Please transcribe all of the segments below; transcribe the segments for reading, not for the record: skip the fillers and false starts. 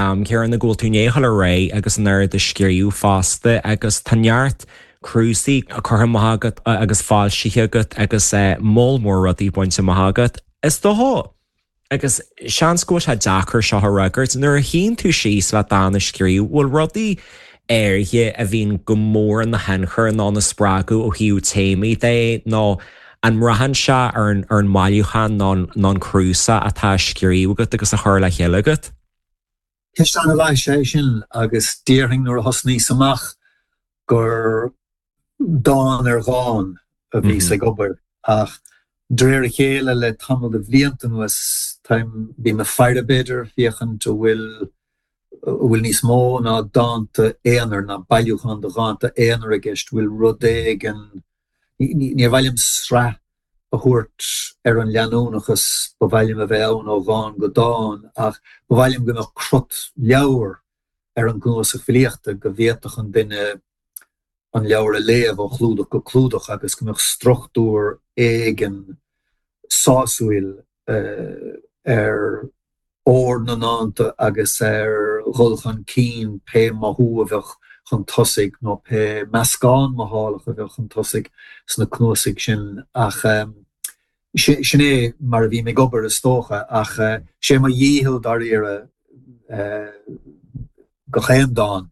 am céanna go bhfuil tú i ndiaidh a dhul ar aghaidh agus an oiread a scríobh fosta agus tá neart cnuasaigh curtha amach agat agus foilsithe agat agus moll mór rudaí bainte amach agat. Is dócha, agus seans go bhfuil sé deacair seo a fhreagairt, nuair a shuíonn tú síos le dán a scríobh, bhfuil rudaí áirithe a bhíonn go mór ina thionchar nó ina spreagadh ó thaobh téamaí de nó an mbraitheann sé ar an mbailiúchán nó an cnuasach atá á scríobh agat agus á chur le chéile agat? Ceist an-mhaith is ea é sin agus déarfainn nuair a thosnaíos amach gur dán ar dhán a bhíos ag obair ach de réir a chéile le tamall de bhlianta anuas táim, bím ag faire b'fhéidir, féachaint an bhfuil, an bhfuil níos mó ná dánta aonair, ná bailiúchán de dhánta aonair i gceist, bhfuil rud éigin, níor mhaith liom sraith a thabhairt ar an leanúnachas ba mhaith liom a bheith ann ó dhán go dán ach ba mhaith liom go mbeadh crot leabhair ar an gcnuasach filíochta, go bhféadfadh an duine an leabhar a léamh ó chlúdach go clúdach agus go mbeadh struchtúr éigin sásúil ar ord na ndánta agus ar dhul chun cinn pé mothú a bheadh chun tosaigh nó pé meascán mothálach a bheadh chun tosaigh sna cnuasaigh sin. Ach sin é mar a bhím ag obair is dócha. Ach sé mo dhícheall dáiríre gach aon dán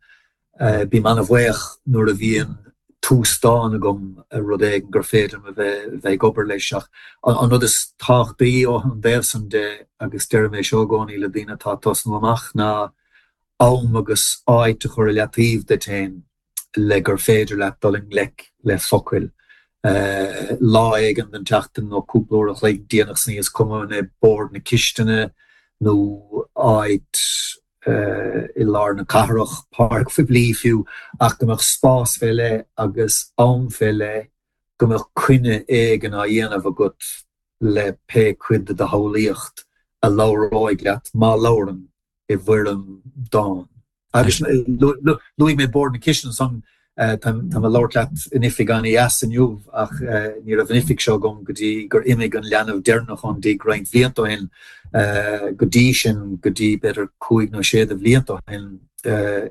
Bím an-bhuíoch nuair a bhíonn tús dáin agam, rud éigin gur féidir liom a bheith ag obair leis. Ach an rud is tábhachtaí ón dtaobh san de, agus deirim é seo i gcónaí le daoine atá ag tosnú amach, ná am agus áit a chur i leataobh duit féin le gur féidir leat dul i ngleic le focail. Lá éigin den tseachtain nó cúpla uair a chloig déanach san oíche, is cuma an é bord na cistine nó áit i lár na cathrach, páirc phoiblí fiú, ach go mbeadh spás fé leith agus am fé leith, go mbeadh coinne éigin á dhéanamh agat le pé cuid de do shamhlaíocht a labhróidh leat, má labhrann, i bhfoirm dáin. Agus luaigh mé bord na cistine ansan, Táim ag labhairt leat in oifig an-dheas inniu ach ní raibh an oifig seo agam go dtí gur imigh an leanbh deireanach ón dtigh roinnt bhlianta ó shin. Go dtí sin, go dtí b'fhéidir cúig nó sé de bhlianta ó shin,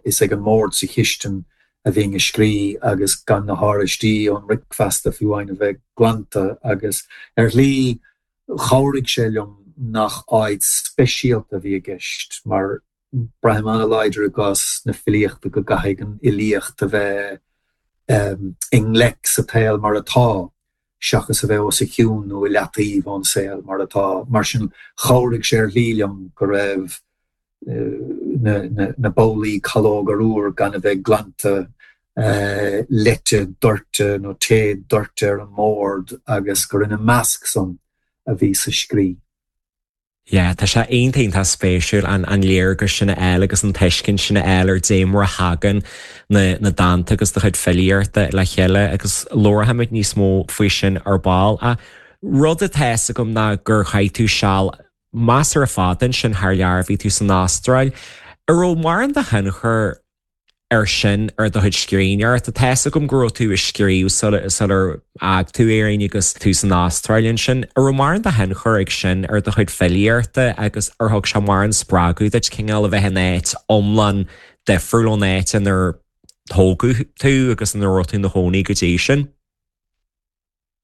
is ag an mbord sa chistin a bhínn ag scrí agus gan na háraistí ón mbricfeasta fiú amháin a bheith glanta agus ar shlí chabhraigh sé liom nach áit speisialta a bhí i gceist mar Braithim an-láidir i gcás na filíochta go gcaithfidh an fhilíocht a bheith i ngleic sa tsaol mar atá, seachas a bheith os a chionn nó i leataobh ón saol mar atá. Mar sin, chabhraigh sé ar shlí liom go raibh na babhlaí calóg arúr gan a bheith glanta, leite doirte nó tae doirte ar an mbord agus gur ina measc san a bhíos ag scrí. Yeah, tá sé iontach iontach spéisiúil an an léargas sin a fháil agus an tuiscint sin a fháil ar dé mar a thagann na na dánta agus do chuid filíochta le chéile agus labharfaimid níos mó faoi sin ar ball. Ach rud atá fhios agam ná gur chaith tú seal measartha fada ansin thar lear, bhí tú san Astráil. An raibh mórán de thionchar air sin ar do chuid scríbhneoireachta. Tá fhios agam go raibh tú ag scríobh sular fhág tú Éirinn agus tú san Astráil ansin. An raibh mórán de thionchar ag sin ar do chuid filíochta agus ar thug sé mórán spreagadh duit cineál a bheith in áit iomlán difriúil ón áit inar tógadh tú agus ina raibh tú ina chónaí go dtí sin?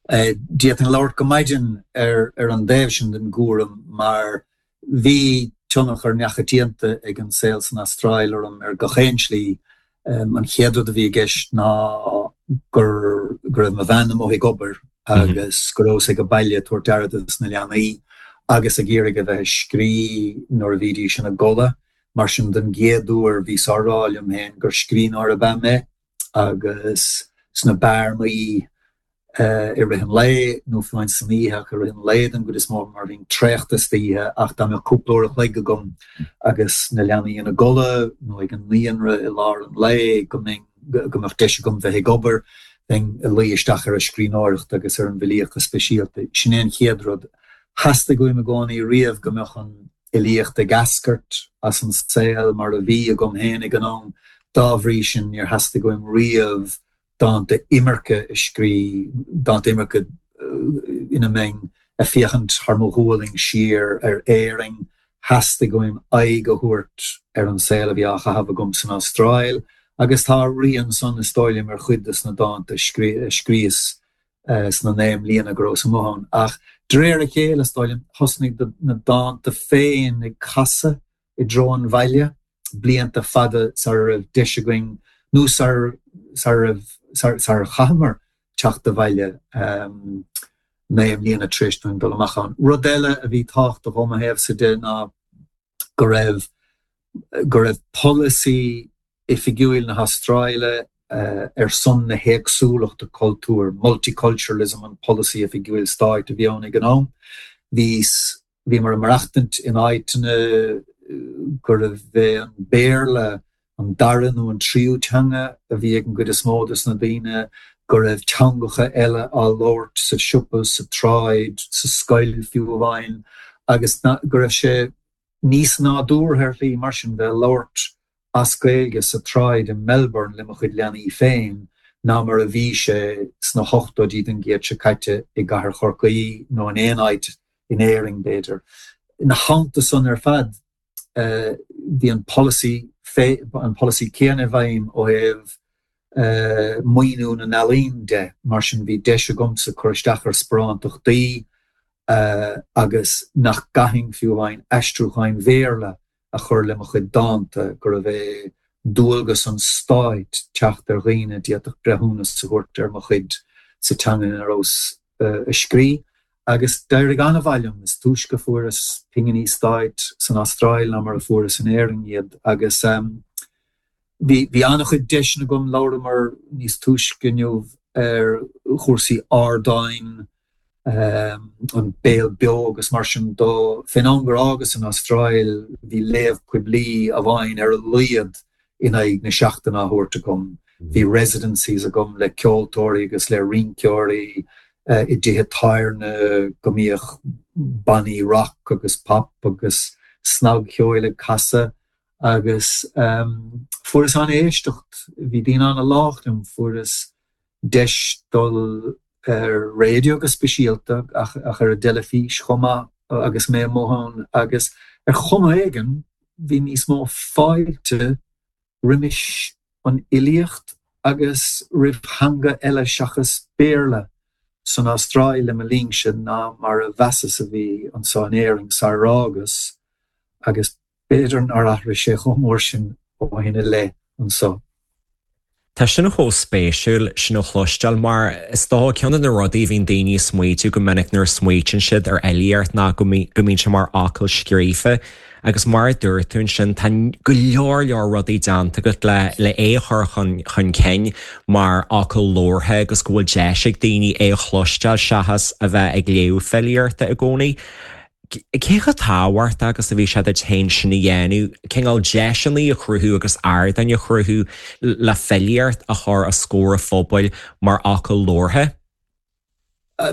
D'fhéadfainn labhairt go maidin ar an dtaobh sin den gcúram mar bhí tionchar neachoitianta ag an saol san Astráil orm ar gach aon slí. An chéad rud a bhí i gceist ná go raibh mo bhean amuigh ag obair agus go rabhas ag baile ag tabhairt aire dos na leanaí agus ag iarraidh a bheith ag scrí nuair a bhídís ina gcodladh. Mar sin den gcéad uair bhíos á rá liom féin gur scríbhneoir ab ea mé agus sna bearnaí i rith an lae, nó fiú amháin san oíche, ach i rith an lae den gcuid is mó mar bhínn traochta istoíche, ach dá mbeadh cúpla uair a chloig agam agus na leanaí ina gcodladh nó ag an naíonra i lár an lae, go mbeinn, go mbeadh deis agam bheith ag obair, bheinn ag luí isteach ar an scríbhneoireacht agus ar an bhfilíocht go speisialta. Sin é an chéad rud. Theastaigh uaim i gcónaí riamh go mbeadh an fhilíocht ag eascairt as an saol mar a bhí agam féin ag an am, dá bhrí sin níor theastaigh uaim riamh dánta imirce a scrí, dánta imirce ina mbeinn ag féachaint thar mo ghualainn siar ar Éirinn. Theastaigh uaim aghaidh a thabhairt ar an saol a bhí á chaitheamh agam san Astráil agus tá a rian san, is dóigh liom, ar chuid de sna dánta a scríos sna 9 mbliana go rabhas amuigh ann. Ach de réir a chéile, is dóigh liom, thosnaigh na dánta féin ag casadh i dtreo an bhaile, blianta fada sara raibh deis againn, nó sar raibh, sar chaitheamar teacht abhaile, 9 mbliana tar éis dúinn dul amach ann. Rud eile a bhí tábhachtach ó mo thaobhsa de ná go raibh, go raibh polasaí oifigiúil na hAstráile ar son na héagsúlachta cultúir, multiculturalism an polasaí oifigiúil stáit a bhí ann ag an am. Bhíos, bhíomar ag maireachtaint in áiteanna gurbh é an Béarla an dara nó an tríú teanga a bhí ag an gcuid is mó de na daoine, go raibh teangacha eile á labhairt sa siopa, sa tsráid, sa scoil fiú amháin, agus go raibh sé níos nádúrtha ar shlí mar sin bheith ag labhairt as Gaeilge sa tsráid i Melbourne le mo chuid leanaí féin ná mar a bhí sé sna hochtóidí den gcéad seo caite i gcathair Chorcaí nó in aon áit in Éirinn, b'fhéidir. Ina theannta san ar fad, bhí an polasaí, an polasaí céanna i bhfeidhm ó thaobh maoiniú na n-ealaíon de, mar sin bhí deis agamsa cur isteach ar sparántachtaí agus nach gcaithfinn fiú amháin aistriúcháin Bhéarla a chur le mo chuid dánta, gurbh é dualgas an stáit teacht ar dhaoine a d'fhéadfadh breithiúnas a thabhairt ar mo chuid sa teanga ina rabhas a scrí. Agus d'éirigh an-mhaith liom. Is túisce a fuaireas pinginí stáit san Astráil ná mar a fuaireas in Éirinn iad. Agus bhí bhí an-chuid deiseanna agam, labhramar níos túisce inniu ar chúrsaí ardáin, an Béal Beo agus mar sin dó. Fén am gur fhágas an Astráil bhí léamh poiblí amháin ar a laghad in aghaidh na seachtaine á thabhairt agam. Bhí residencies agam le ceoltóirí agus le rinceoirí i dtithe tábhairne go mbíodh bannaí rock agus pop agus snagcheoil ag casadh agus fuaireas an-éisteacht. Bhí daoine an-lách liom, fuaireas deis dul ar raidió go speisialta ach ar an dteilifís chomh maith agus mé amuigh ann agus ar chuma éigin bhí níos mó fáilte roimis an fhilíocht agus roimh theanga eile seachas Béarla san Astráil le mo linnse ná mar a mheasas a bhí anseo in Éirinn sarar fhágas agus B'fhéidir nár athraigh sé chomh mór sin ó shin i leith anso. Tá sin chomh spéisiúil sin a chloisteáil mar is dócha ceann de na rudaí a bhíonn daoine ag smaoitiú go minic nuair a smaoitíonn siad ar fhilíocht ná go mbíonn sé mar fhocal scríofa agus mar a dúirt tú ansin tá go leor leor rudaí déanta agat le le é a chur chun chun cinn mar fhocal labhartha agus go bhfuil deis ag daoine é a chloisteáil seachas a bheith ag léamh filíochta i gcónaí. Cé chomh tábhachtach agus a bhí sé duit féin sin a dhéanamh, cineál deiseanna a chruthú agus ardáin a chruthú le filíocht a chur os comhair an phobail mar fhocal labhartha?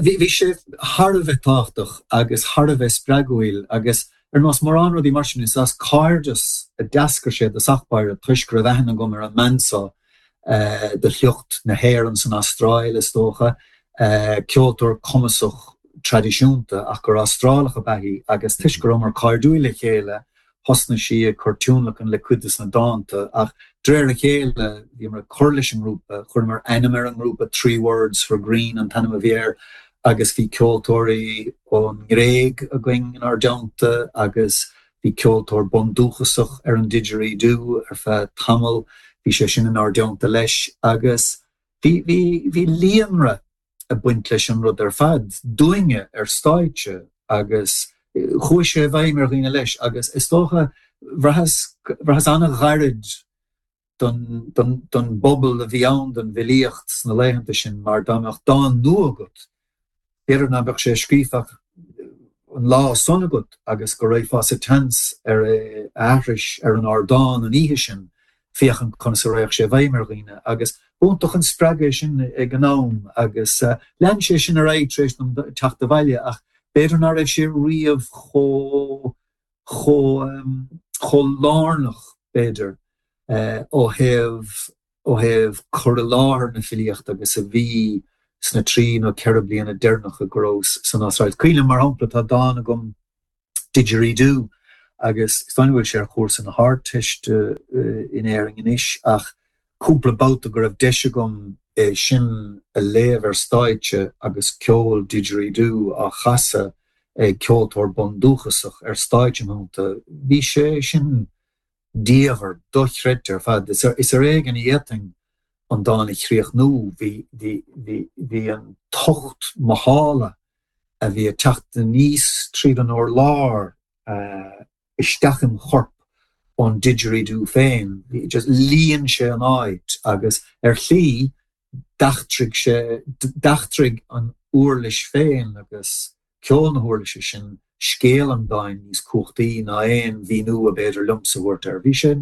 Bhí sé thar a bheith tábhachtach agus thar a bheith spreagúil agus ar nós mórán rudaí mar sin, is as cairdeas a d'eascair sé i dtosach báire toisc go raibh aithne agam ar an mbean seo de shliocht na hÉireann san Astráil, is dócha, ceoltóir cumasach traidisiúnta ach gur Astrálach ab ea í agus toisc go rabhamar cairdiúil le chéile thosnaigh sí ag cur tionlacan le cuid de na dánta ach de réir a chéile bhíomar ag cur leis an ngrúpa, chuireamar ainm ar an ngrúpa, Three Words for Green an t-ainm a bhí air agus bhí ceoltóirí ón nGréig againn inár dteannta agus Bhí ceoltóir bundúchasach ar an didgeridoo ar feadh tamaill, bhí sé sin inár dteannta leis agus bhí, bhí, bhí líonra ag baint leis an rud ar fad, dúinne ar stáitse agus chuaigh sé i bhfeidhm ar dhaoine leis agus is dócha, bhraitheas, bhraitheas an-ghairid don bpobal a bhí ann don bhfilíocht sna laethanta sin mar dá mbeadh dán nua agat, b'fhéidir ná beadh sé scríofa ach an lá san agat agus go raghfá sa tseans ar é a aithris ar an ardán an oíche sin féachaint conas a raghadh sé i bhfeidhm ar dhaoine agus b'iontach an spreagadh é sin ag an am agus lean sé sin ar aghaidh tar éis dom teacht abhaile ach b'fhéidir ná raibh sé riamh chomh chomh lárnach, b'fhéidir, ó thaobh ó thaobh cur i láthair na filíochta agus a bhí sna trí nó ceithre bliana deireanacha go rabhas san Astráil. Cuimhin liom, mar shampla, tá dán agam, Didgeridoo, Agus is dóigh liom go bhfuil sé ar chúrsa na hArdteiste in Éirinn anois ach cúpla babhta go raibh deis agam é sin a léamh ar stáitse agus ceol didgeridoo á chasadh ag ceoltóir bundúchasach ar stáitse im theannta, bhí sé sin diamhair, dochreidte ar fad. Is ar éigean a d'fhéadfainn an dán a chríochnú, bhí, bhí, bhí, bhí an tocht mothála a bhí ag teacht aníos tríd an urlár isteach im chorp ón didgeridoo féin, bhí, just líon sé an áit agus ar shlí d'eachtraigh sé, d'eachtraigh an uirlis féin agus ceol na huirlise sin scéal an dáin níos cumhachtaí ná aon mhíniú ab fhéidir liomsa a thabhairt air. Bhí sé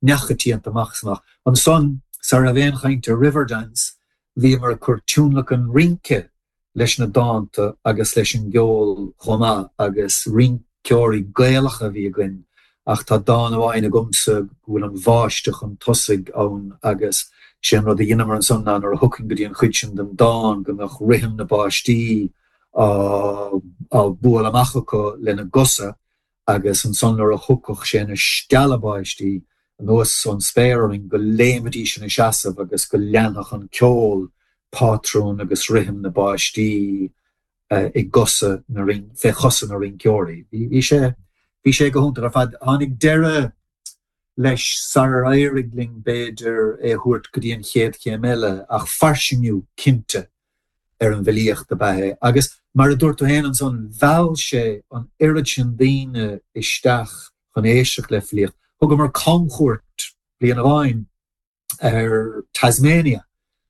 neamhchoitianta amach is amach. Ansan, sara raibh aon chaint ar Riverdance, bhíomar ag cur tionlacan rince leis na dánta agus leis an gceol chomh maith agus rinceoirí Gaelacha a bhí againn ach tá dán amháin agamsa go bhfuil an bháisteach chun tosaigh ann agus sé an rud a dheineamar ansan ná nuair a thiocfainn go dtí an chuid sin den dán go mbeadh rithim na báistí á bualadh amach acu lena gcosa agus ansan nuair a thiocfadh sé na stealla báistí anuas ón spéir orainn go léimfidís ina seasamh agus go leanfadh an ceol pátrún agus rithim na báistí i gcosa na, fé chosa na rinceoirí. Bhí sé, bhí sé go hiontach ar fad. Tháinig deireadh leis sarar éirigh linn b'fhéidir é a thabhairt go dtí an chéad chéim eile ach fairsingiú cinnte ar an bhfilíocht ab ea é. Agus mar a dúirt tú féin ansan, mheall sé an oiread sin daoine isteach chun éisteacht le filíocht. Thugamar camchuairt bliain amháin ar Tasmania.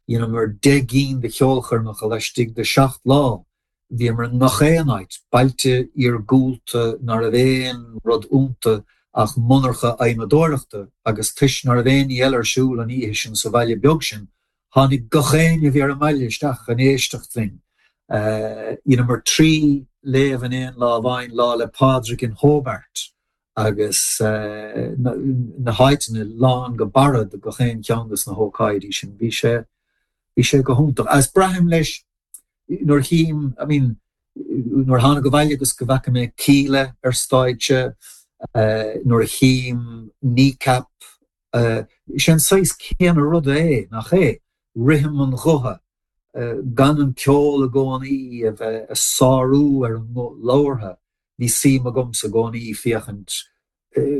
Dheineamar 10 gcinn de cheolchoirmeacha laistigh de 7 lá. Bhíomar i ngach aon áit, bailte iargúlta ná raibh aon rud iontu ach monarcha adhmadóireachta agus toisc ná raibh aon ní eile ar siúl an oíche sin sa bhaile beag sin, tháinig gach éinne a bhí ar an mbaile isteach chun éisteacht linn. Dheineamar 3 léamh in aon lá amháin, Lá 'le Pádraig in Hobart agus na háiteanna lán go barra do gach aon cheann de na hócáidí sin. Bhí sé, bhí sé go hiontach. Agus braithim leis, nuair a chím, I mean, nuair a thánag abhaile agus go bhfaca mé Kíla ar stáitse, nuair a chím Kneecap, sé an saghas céanna rud é, nach é? Rithim an ghutha, gan an ceol i gcónaí a bheith ag sárú ar an nguth labhartha, Bhí suim agamsa i gcónaí féachaint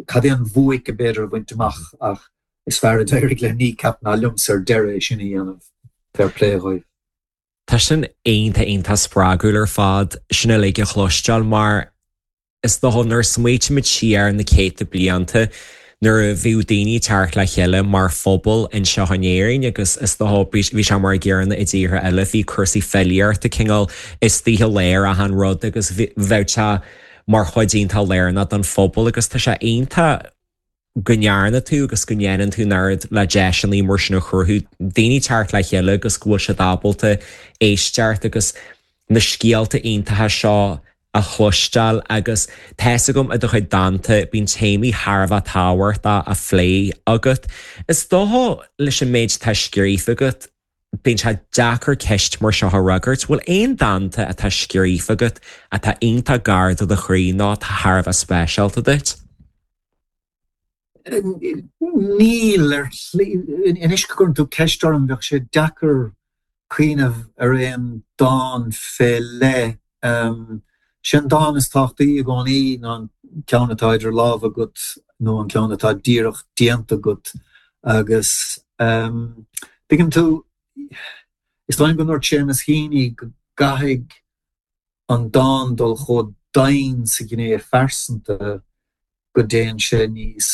cad é an bhuaic ab fhéidir a bhaint amach ach is fearr a d'éirigh le Kneecap ná liomsa ar deireadh é sin a dhéanamh. Fair play dhóibh. Tá sin iontach iontach spreagúil ar fad, sin uilig a chloisteáil mar is dócha nuair a smaoitímid siar na céadta blianta nuair a bhíodh daoine ag teacht le chéile mar phobal anseo in Éirinn agus is dócha bhí sé mar an gcéanna i dtíortha eile, bhí cúrsaí filíochta cineál istigh i lár achan rud agus bheadh sé mar chuid iontach lárnach don phobal agus tá sé iontach go ndearna tú agus go ndéanann tú an oiread le deiseanna mar sin a chruthú, daoine teacht le chéile agus go bhfuil siad ábalta éisteacht agus na scéalta iontacha seo a chloisteáil agus tá's agam i do chuid dánta bíonn téamaí thar a bheith tábhachtach á phlé agat. Is dócha leis an méid atá scríofa agat bíonn sé deacair ceist mar seo a fhreagairt. Bhfuil aon dánta atá scríofa agat atá iontach gar do do chroí nó atá thar a bheith speisialta duit? Níl, ar shlí. Anois go gcuireann tú ceist orm, bheadh sé deacair cuimhneamh ar aon dán fé leith. Sé an dán is tábhachtaí i gcónaí ná an ceann atá idir lámha agat nó an ceann atá díreach déanta agat agus tuigeann tú, is dóigh liom go ndúirt Seamus Heaney go gcaithfidh an dán dul chomh domhain sa ghné phearsanta go dtéann sé níos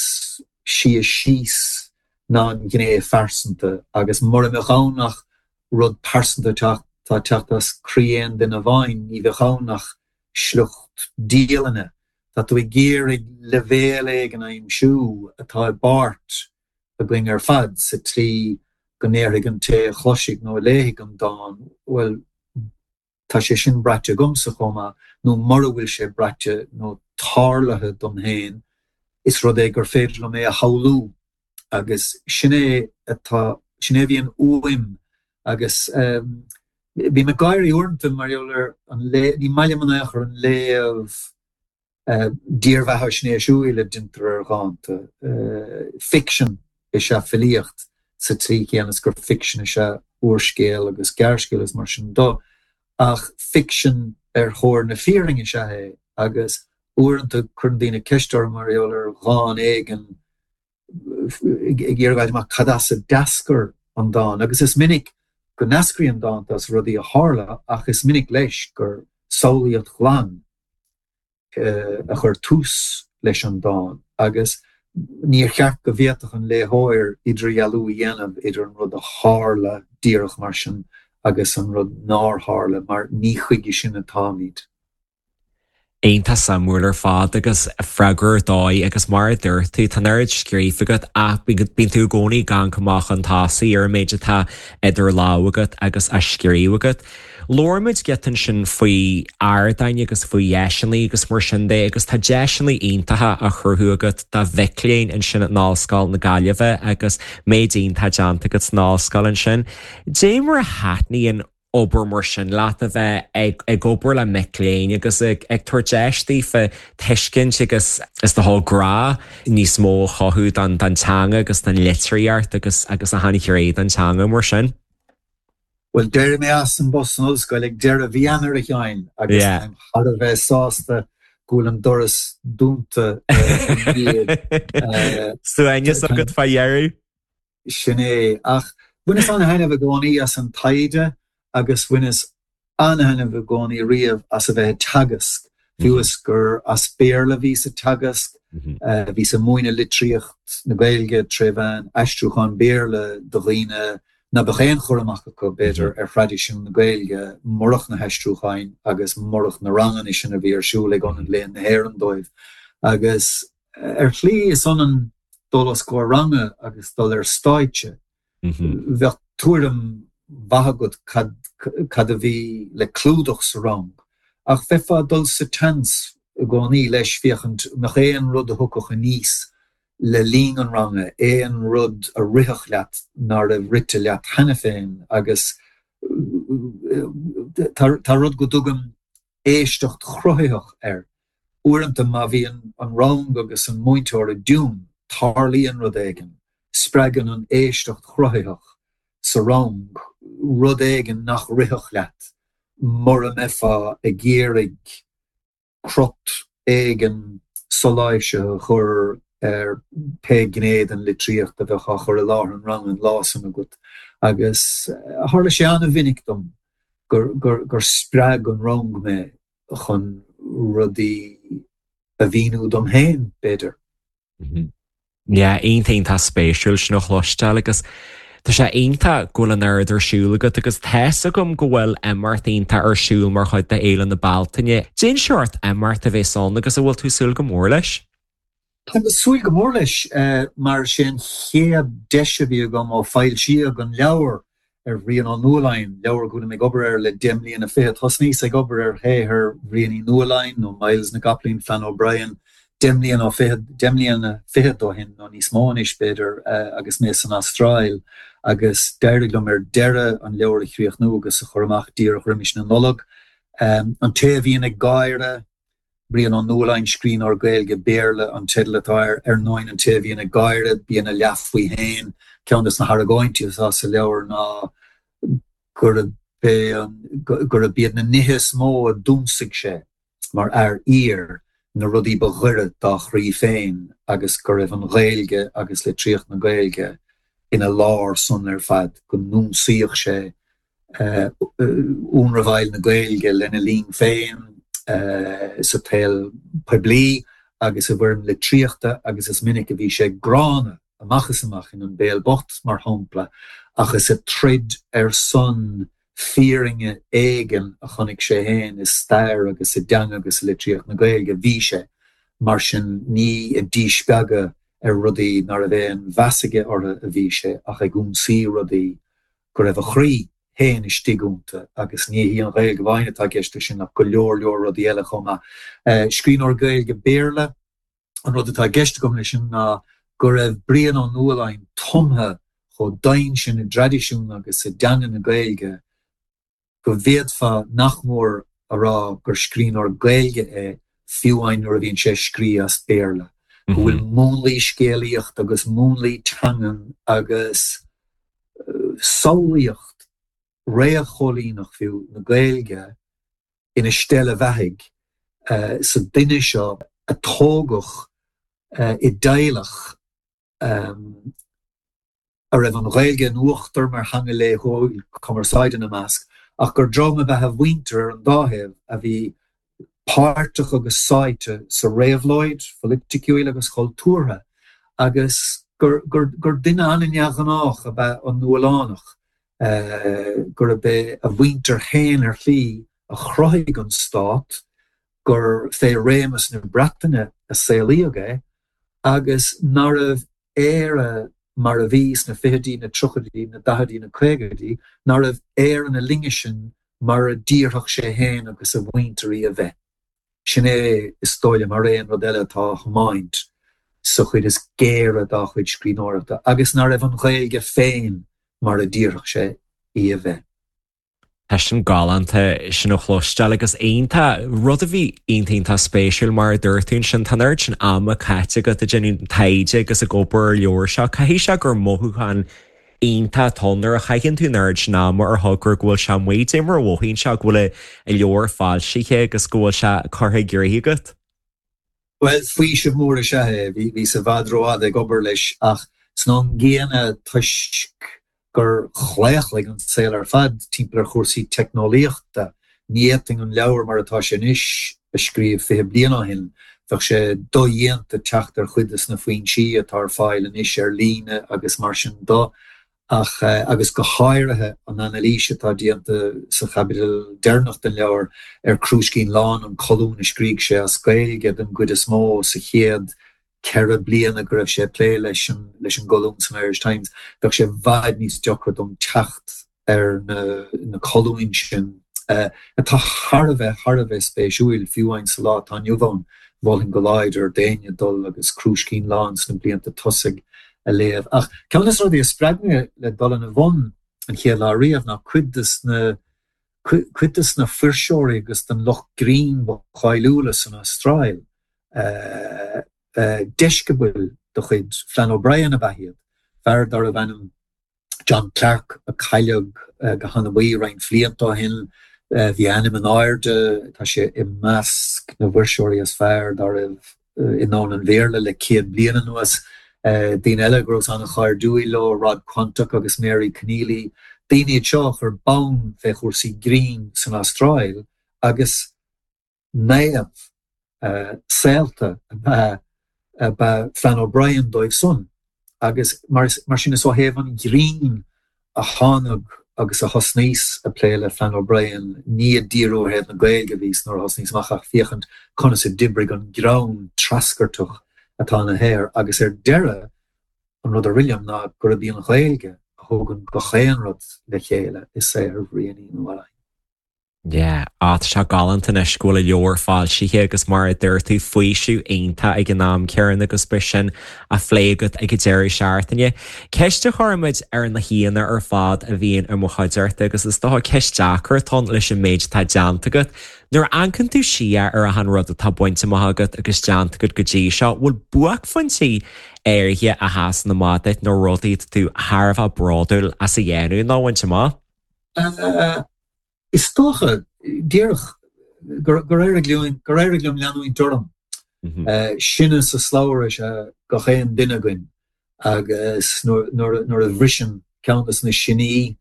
sia síos ná an ghné phearsanta agus mura mbeadh ann ach rud pearsanta atá ag teacht as croí aon duine amháin, ní bheadh ann ach sliocht dialainne. Tá tú ag iarraidh leibhéal éigin a aimsiú atá i bpáirt againn ar fad sa tslí go ndéarfaidh an té a chloisfidh nó a léifidh an dán, bhuel, tá sé sin braite agamsa chomh maith, nó mura bhfuil sé braite nó tarlaithe dom féin, is rud é gur féidir liom é a shamhlú agus sin é atá, sin é a bhíonn uaim agus bím ag gáirí uaireanta mar gheall ar an léamh, ní maith liom in aon chor an léamh. Dírbheathaisnéisiúil a deintear ar dhánta. Ficsean is ea filíocht sa tslí chéanna is gur ficsean is ea úrscéal agus gearrscéal is mar sin de, ach ficsean ar thóir na fírinne is ea é agus uaireanta cuireann daoine ceist orm mar gheall ar dhán éigin ag iarraidh a fháil amach cad as a d'eascair an dán agus is minic go n-eascraíonn dánta as rudaí a tharla ach is minic leis gur samhlaíocht ghlan a chuir tús leis an dán agus níor cheart go bhféadfadh an léitheoir idirdhealú a dhéanamh idir an rud a tharla díreach mar sin agus an rud nár tharla mar ní chuige sin atáimid. Iontach suimiúil ar fad agus freagra ar dóigh agus mar a dúirt tú, tá an oiread scríofa agat ach bíonn tú i gcónaí ag amharc amach chun tosaigh ar an méid atá idir lámha agat agus á scríobh agat. Labhair muid giota ansin faoi ardáin agus faoi dheiseanna agus mar sin de agus tá deiseanna iontacha á chruthú agat do mhic léinn ansin in Ollscoil na Gaillimhe agus méid iontach déanta agat san ollscoil ansin. Dé mar a thaitníonn obair mar sin leat, a bheith ag ag obair le mic léinn agus ag ag tabhairt deis daofa tuiscint agus is dócha grá níos mó a chothú don don teanga agus don litríocht agus agus achan ghné den teanga mar sin. Bhuel, d'éirigh mé as an bpost san ollscoil ag deireadh mhí Eanáir, a Sheáin, agus táim thar a bheith sásta go bhfuil an doras dúnta i ndiaidh. Suaimhneas agat fá dheireadh. Sin é. Ach bhaineas an-thaitneamh i gcónaí as an taighde agus bhaineas an-thaitneamh i gcónaí riamh as a bheith ag teagasc, fiú is gur as Béarla a bhí sa teagasc. Bhíos ag múineadh litríocht na Gaeilge tré mheán aistriúchán Béarla do dhaoine ná beadh aon chur amach acu, b'fhéidir, ar thraidisiún na Gaeilge murach na haistriúcháin agus murach na ranganna sin a bhí ar siúl ag Ionad Léann na hÉireann dóibh. Agus Ar shlí, is ionann dul os comhair ranga agus dul ar stáitse. Bheadh tuairim mhaith agat cad cad a bhí le clúdach sa rang, ach bheifeá ag dul sa tseans i gcónaí leis féachaint an mbeadh aon rud a thiocfadh aníos le linn an ranga, aon rud a rithfeadh leat ná raibh rite leat cheana féin agus tá rud go dtugaim éisteacht chruthaitheach air. Uaireanta má bhíonn an rang agus an múinteoir i dtiún, tarlaíonn rud éigin, spreagann an éisteacht chruthaitheach sa rang rud éigin nach rithfeadh leat mura mbeifeá ag iarraidh crot éigin soláimhsithe a chur ar pé gné den litríocht a bheadh á chur i láthair an ranga an lá san agat. Agus tharla sé an-mhinic dom gur spreag an rang mé chun rudaí a mhíniú dom féin, b'fhéidir. Yeah, iontach iontach spéisiúil sin a chloisteáil agus tá sé iontach go bhfuil an oiread ar siúl agat agus tá's agam go bhfuil imeacht iontach ar siúl mar chuid de Fhéile na Bealtaine. Cén seort imeacht a bheas ann agus an bhfuil tú ag súil go mór leis? Táim ag súil go mór leis mar is é an chéad deis a bhí agam ó foilsíodh an leabhar ar Bhrian Ó Nualláin, leabhar go bhfuilim ag obair air le deich mbliana fichead. Thosnaíos ag obair ar shaothar Bhriain Uí Nualláin, nó Myles na gCopaleen, Flann O'Brien, deich mbliana ó fichead, deich mbliana fichead ó shin, nó níos mó anois, b'fhéidir, agus mé san Astráil, agus d'éirigh liom ar deireadh an leabhar a chríochnú agus a chur amach díreach roimis na Nollag. An té a bhíonn ag gáire. Brian Ó Nualláin, Scríbhneoir Gaeilge Béarla an teideal atá air. Ar ndóin, an té a bhíonn ag gáire, bíonn a leath faoi fhéin. Ceann de na hargóintí atá sa leabhar ná gurb é an, gurb iad na nithe is mó a d'ionsaigh sé mar fhear oír, na rudaí ba ghaire dá chroí féin agus go raibh an Ghaeilge agus litríocht na Gaeilge ina lár san ar fad, go n-ionsaíodh sé ionramháil na Gaeilge lena linn féin sa tsaol poiblí agus i bhfoirm litríochta agus is minic a bhí sé gránna amach is amach in An Béal Bocht, mar shampla, ach is ag troid ar son fírinne éigin a chonaic sé féin i stair agus i dteanga agus i litríocht na Gaeilge a bhí sé. Mar sin, ní ag díspeagadh ar rudaí ná raibh aon mheas aige orthu a bhí sé ach ag ionsaí rudaí go raibh a chroí féin istigh iontu agus ní hí an Ghaeilge amháin atá i gceist leis sin ach go leor leor rudaí eile chomh maith. Scríbhneoir Gaeilge Béarla, an rud atá i gceist agam leis sin ná go raibh Brian Ó Nualláin tumtha chomh domhain sin i dtraidisiún agus i dteanga na Gaeilge go bhféadfá nach mór a rá gur scríbhneoir Gaeilge é. fiú amháin nuair a bhíonn sé ag scrí as Béarla, go bhfuil múnlaí scéalaíochta agus múnlaí teangan agus samhlaíocht réamhchoilíneach fiú na Gaeilge ina steillebheathaigh sa duine seo a tógadh i dteaghlach a raibh an Ghaeilge in uachtar mar theanga laethúil cumarsáide ina measc, ach gur dream ab ea a mhuintir ar an dá thaobh a bhí páirteach agus sáite sa réabhlóid pholaiticiúil agus chultúrtha agus gur duine an-neamhghnách ab ea an Nuallánach, gurb é a mhuintir féin ar shlí a chruthaigh an stát, gur fé réimeas na Breataine a saolaíodh é agus nárbh Éire mar a bhí sna fichidí, na tríochaidí, na daichidí, na caogaidí, nárbh Éire na linne sin mar a d'iarrfadh sé féin agus a mhuintir í a bheith. Sin é, is dóigh liom, thar aon rud eile atá á thiomáint sa chuid is géire dá chuid scríbhneoireachta, agus ná raibh an Ghaeilge féin mar a d'iarrfadh sé í a bheith. Tá sin galánta sin a chloisteáil agus iontach, rud a bhí iontach iontach spéisiúil mar a dúirt tú ansin, tá an oiread sin ama caite agat ag déanamh taighde agus ag obair ar an leabhar seo, caithfidh sé gur mothúchán iontach atá ann nuair a chaitheann tú an oiread sin ama ar thogra go bhfuil sé amuigh, cad é mar a mhothaíonn sé go bhfuil an leabhar foilsithe agus go bhfuil sé curtha i gcrích agat. Bhuel, faoiseamh mór is ea é. Bhíos i bhfad rófhada ag obair leis ach san am gcéanna toisc gur chlaochlaigh an saol ar fad timpeall ar chúrsaí teicneolaíochta, ní fhéadfainn an leabhar mar atá sé anois a scríobh 20 bliain ó shin. Bheadh sé dodhéanta teacht ar chuid de na foinsí atá ar fáil anois ar líne agus mar sin de. Ach, agus go háirithe an anailís atá déanta sa chaibidil deireanach den leabhar ar Crúiscín Lán, an colún a scrígh sé as Gaeilge den gcuid is mó sa chéad cheithre bliana go raibh sé ag plé leis an leis an gcolún san Irish Times, bheadh sé i bhfad níos deacra dom teacht ar na colúin sin, atá thar a bheith, thar a bheith spéisiúil, fiú amháin sa lá atá inniu ann. Mholfainn go láidir d'éinne dul agus Crúiscín Lán sna blianta tosaigh a léamh. Ach ceann de na rudaí a spreag mé le dul ina bhun an chéad lá riamh ná cuid de na, cuid de na fuirseoirí agus den lucht grinn ba cháiliúla san Astráil, deisceabail de chuid Flann O'Brien ab ea iad, fear darbh ainm John Clarke a cailleadh go hanabaí roinnt bhlianta ó shin. Bhí a ainm in airde, tá sé i measc na bhfuirseoirí is fearr dá raibh i ndomhan an Bhéarla le 100 bliain anuas. Daoine eile go rabhas an-chairdiúil leo, Rod Quantock agus Mary Connealy, daoine iad seo a chuir bonn fé chúrsaí grinn san Astráil agus naomh saolta ab ea Flann O'Brien dóibh san agus mar sin is ó thaobh an ghrinn a thánag agus a thosnaíos ag plé le Flann O'Brien, ní ag díriú ar thaobh na Gaeilge a bhíos nuair a thosnaíos amach ach féachaint conas a d'oibrigh an greann treascairteach atá ina shaothar agus ar deireadh an rud a rith liom ná gurb í an Ghaeilge a thugann gach aon rud le chéile i saothar Bhriain Uí Nualláin. Yeah, á tá sé galánta anois go bhfuil an leabhar foilsithe agus mar a dúirt tú, faoiseamh iontach ag an am céanna agus beidh sin á phlé agat ag an deireadh seachtaine. Ceist a chuirimid ar na haíonna ar fad a bhíonn i mo chuideachta agus is dócha ceist deacair atá ann leis an méid atá déanta agat. Nuair a amharcann tú siar ar achan rud atá bainte amach agat agus déanta agat go dtí seo, bhfuil buaicphointí áirithe a sheasann amach duit nó rudaí atá tú thar a bheith bródúil as a dhéanamh nó a bhaint amach? Is dócha, díreach, gur éirigh liom leanúint orm. Sine sa slabhra is ea gach aon duine againn agus nuair a bhriseann ceann de na siní,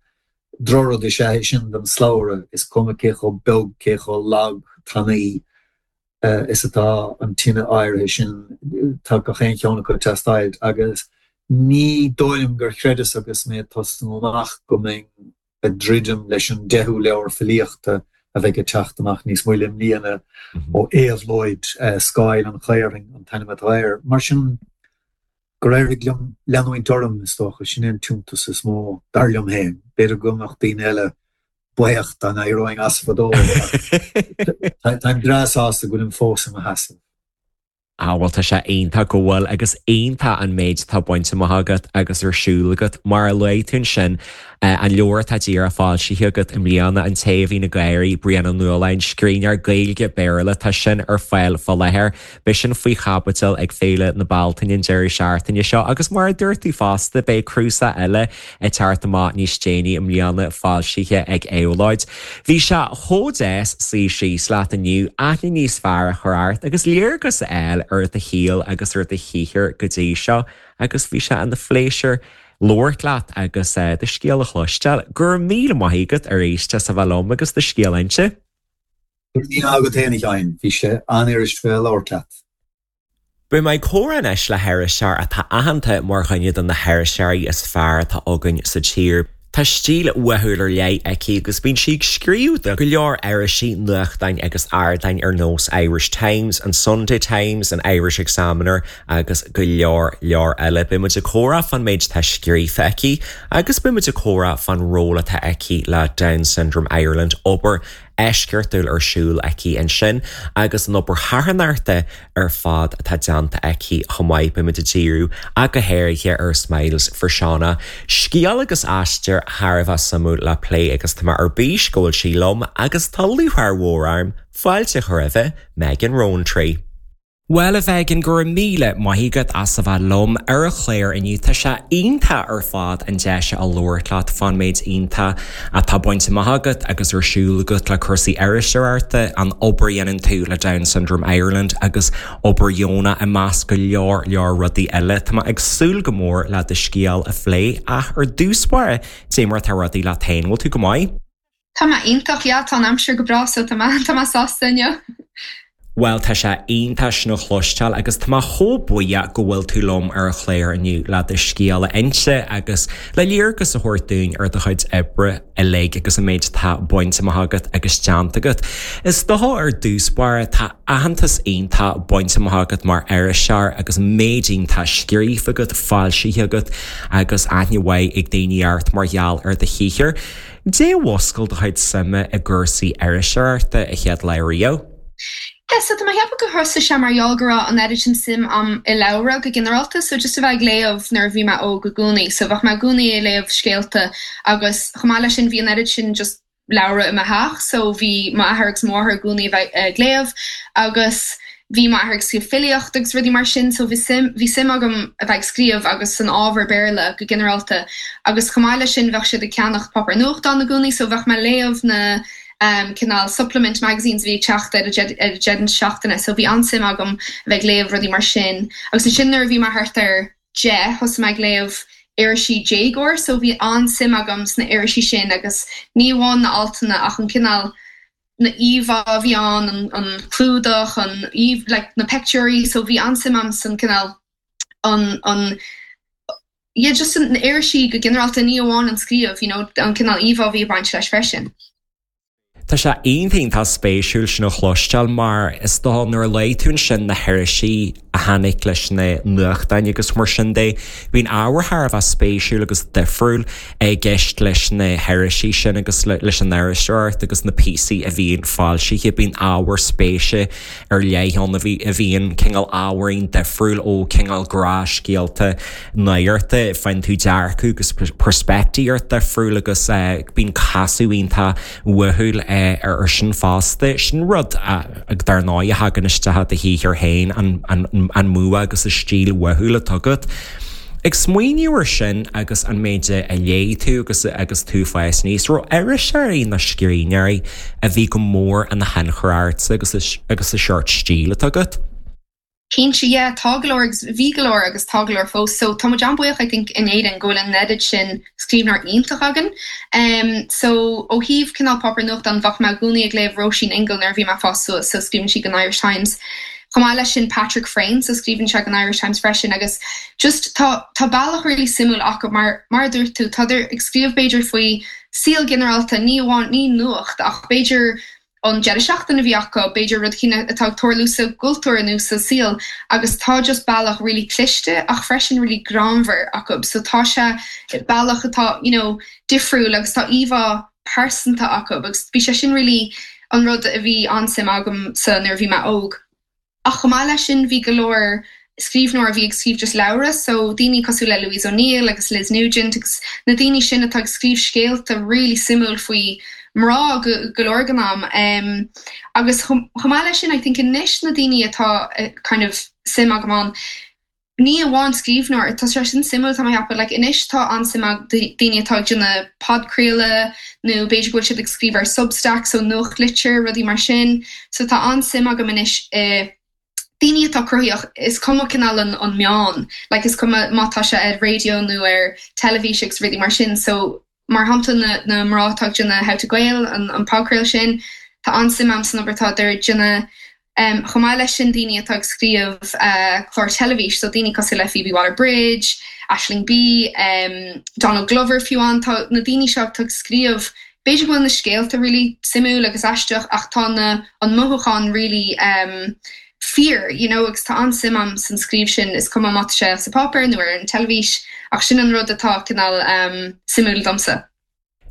drochrud is ea é sin don slabhra, is cuma cé chomh beag, cé chomh lag, tanaí is atá an tine áirithe sin, tá gach aon cheann acu ag teastáilt agus ní dóigh liom gur chreideas agus mé ag tosnú amach go mbeinn ag druidim leis an deichiú leabhar filíochta a bheidh ag teacht amach níos moille i mbliana ó Éabhlóid, Scáil an Chaorthainn an t-ainm atá air. Mar sin, gur éirigh liom leanúint orm, is dócha, sin é an t-iontas is mó, dar liom féin. B'fhéidir go mbeadh daoine eile buíoch dá n-éireoinn as fadó, ach táim breá sásta go bhfuilim fós i mo sheasamh. Ah bhuel tá sé iontach go bhfuil agus iontach an méid atá bainte amach agat agus ar siúl agat. Mar a luaigh tú ansin, an leabhar atá díreach foilsithe agat i mbliana, An Té a Bhíonn Ag Gáirí, Brian Ó Nualláin, scríbhneoir Gaeilge, Béarla, tá sin ar fáil fá láthair. Beidh sin faoi chaibidil ag Féile na Bealtaine an deireadh seachtaine seo agus mar a dúirt tú fosta, beidh cnuasach eile ag teacht amach níos déanaí i mbliana, foilsithe ag Éabhlóid. Bhí sé chomh deas suí síos leat inniu, aithne níos fearr a chur ort agus léargas a fháil ar do shaol agus ar do shaothar go dtí seo agus bhí sé ina phléisiúr labhairt leat agus do scéal a chloisteáil. Go raibh míle maith agat arís as a bheith liom agus do scéal a inse. Go raibh míle maith agat féin, a Sheáin. Bhí sé an-fhuirist bheith ag labhairt leat. Beidh mé ag comhrá anois le hiriseoir atá aitheanta mar dhuine de na hiriseoirí is fearr atá againn sa tír. Tá stíl uathúil ar leith aici agus bíonn sí ag scríobh do go leor irisí, nuachtáin agus ardáin ar nós Irish Times, an Sunday Times, an Irish Examiner agus go leor leor eile. Beidh muid ag comhrá fán méid atá scríofa aici agus beidh muid ag comhrá fán ról atá aici le Down Syndrome Ireland, obair eisceachtúil ar siúl aici ansin agus an obair charthanachta ar fad atá déanta aici chomh maith. Beidh muid ag díriú ach go háirithe ar Smiles for Shauna. Scéal agus aistear thar a bheith suimiúil le plé agus tá mé ar bís go bhfuil sí liom agus tá lúcháir mhór orm fáilte a chur roimhe, Megan Rowntree. Bhuel, a Mhegan, go raibh míle maith agat as a bheith liom ar an chlár inniu. Tá sé iontach ar fad an deis a labhairt leat fán méid iontach atá bainte amach agat agus ar siúl agat le cúrsaí iriseoireachta, an obair a dhéanann tú le Down Syndrome Ireland agus obair dheonach i measc go leor leor rudaí eile. Tá mé ag súil go mór le do scéal a phlé ach ar dtús báire, cad é mar atá rudaí leat féin, bhfuil tú go maith? Tá mé iontach, yeah, tá an aimsir go breá so tá mé, tá mé sásta inniu. Bhuel, tá sé iontach sin a chloisteáil agus tá mé chomh buíoch go bhfuil tú liom ar an chlár inniu le do scéal a inse agus le léargas a thabhairt dúinn ar do chuid oibre uilig agus an méid atá bainte amach agat agus déanta agat. Is dócha ar dtús báire, tá aitheantas iontach bainte amach agat mar iriseoir agus méid iontach scríofa agat, foilsithe agat agus aithne mhaith ag daoine ort mar gheall ar do shaothar. Cad é a mhúscail do chuid suime i gcúrsaí iriseoireachta a chéad lá riamh? Yeah, so tá mé ag ceapadh gur thosaigh sé mar gheall go raibh an oiread sin suim a'm i leabhra go ginearálta, so just a bheith ag léamh nuair a bhí mé óg i gcónaí. So bheadh mé i gcónaí ag léamh scéalta agus chomh maith leis sin bhí an oiread sin just leabhra i mo theach, so bhí m'athair agus mo mháthair i gcónaí a bheith ag léamh agus Bhí m'athair ag scríobh filíocht agus rudaí mar sin so bhí suim, bhí suim agam a bheith ag scríobh agus san ábhar Béarla go ginearálta agus chomh maith leis sin bheadh siad ag ceannacht páipéar nuachtáin i gcónaí so bheadh mé ag léamh na um cineál supplement magazines a bhí ag teacht ar an ar an deireadh seachtaine so bhí an-suim agam a bheith ag léamh rudaí mar sin agus ansin nuair a bhí mé thart ar 10 thosaigh mé ag léamh irisí déagóir so bhí an-suim agam sna irisí sin agus ní amháin na altanna ach an cineál na íomhá a bhí ann, an clúdach, an like na peictiúirí, so bhí an-suim a'm san cineál an, an, yeah just na irisí go ginearálta, ní amháin an scríobh, you know, an cineál íomhá a bhí ag baint leis freisin. Tá sé iontach iontach spéisiúil sin a chloisteáil mar is dócha nuair a luaigh tú ansin na hirisí a tháinig leis na nuachtáin agus mar sin de. Bíonn ábhar thar a bheith spéisiúil agus difriúil i gceist leis na hirisí sin agus leis an iriseoireacht agus na píosaí a bhíonn foilsithe. Bíonn ábhar spéise ar leith ann a bhíonn cineál ábhairín difriúil ó cineál gnáthscéalta nuachta. Faigheann tú dearcadh agus peirspictíocht difriúil agus bíonn casadh iontach uathúil ar sin fosta. Sin rud a, dar ndóigh, a thagann isteach i do shaothar féin, an bua agus an stíl uathúil atá agat. Ag smaoineamh ar sin agus an méid a léigh tú agus agus tú ag fás aníos, raibh iriseoirí nó scríbhneoirí a bhí go mór ina thionchar ortsa agus agus an seort stíl atá agat? Cinnte, yeah, tá go leor agus bhí go leor agus tá go leor fós. So tá muid an-bhuíoch I think in Éirinn go bhfuil an oiread sin scríbhneoir iontach againn. Em so ó thaobh cineál páipéar nuachtáin bheadh mé i gcónaí ag léamh Róisín Ingle nuair a bhí mé ag fás suas, so scríobhann sí don Irish Times. Chomh maith leis sin Patrick Freyne, so scríobhann sé don Irish Times freisin agus just tá tá bealach really suimiúil acu mar mar a dúirt tú tádar ag scríobh b'fhéidir faoi saol ginearálta, ní amháin ní nuacht ach b'fhéidir an deireadh seachtaine a bhí acu, b'fhéidir rud éicint atá ag tarlú sa gcultúr nó sa saol agus tá just bealach really cliste ach freisin really greannmhar acu so tá sé bealach atá you know difriúil agus tá íomhá pearsanta acu agus bhí sé sin really an rud a bhí an-suim agamsa nuair a bhí mé óg. Ach chomh maith leis sin bhí go leor scríbhneoir a bhí ag scríobh just leabhra, so daoine cosúil le Louise O'Neill agus Liz Nugent agus na daoine sin atá ag scríobh scéalta really suimiúil faoi mná go go leor den am. Um, agus chomh maith leis sin I think anois na daoine atá kind of suim agam ann, Ní amháin scríbhneoir, tá sé sin suimiúil tá mé ag ceapadh, like anois tá an-suim ag daoine atá ag déanamh podchraoladh nó b'fhéidir go bhfuil siad ag scríobh ar Substack so nuachtlitir, rudaí mar sin. So tá an-suim agam anois i daoine atá cruthaitheach, is cuma cineál an an meán, like is cuma má tá sé ar raidió nó ar teilifís agus rudaí mar sin. So Mar shampla na na mná atá ag déanamh How to Gael, an an podchraoladh sin, tá an-suim agam san obair atá ar déanamh. Chomh maith leis sin daoine atá ag scríobh clár teilifís, so daoine cosúil le Phoebe Waller-Bridge, Aisling Bea, Donald Glover fiú amháin, tá na daoine seo atá ag scríobh, b'fhéidir go bhfuil na scéalta really suimiúil agus aisteach ach tá na an mothúchán really fíor, you know, agus tá an-suim agam san scríobh sin, is cuma má tá sé sa pháipéar nó ar an teilifís, ach sin an rud atá cineál suimiúil domsa.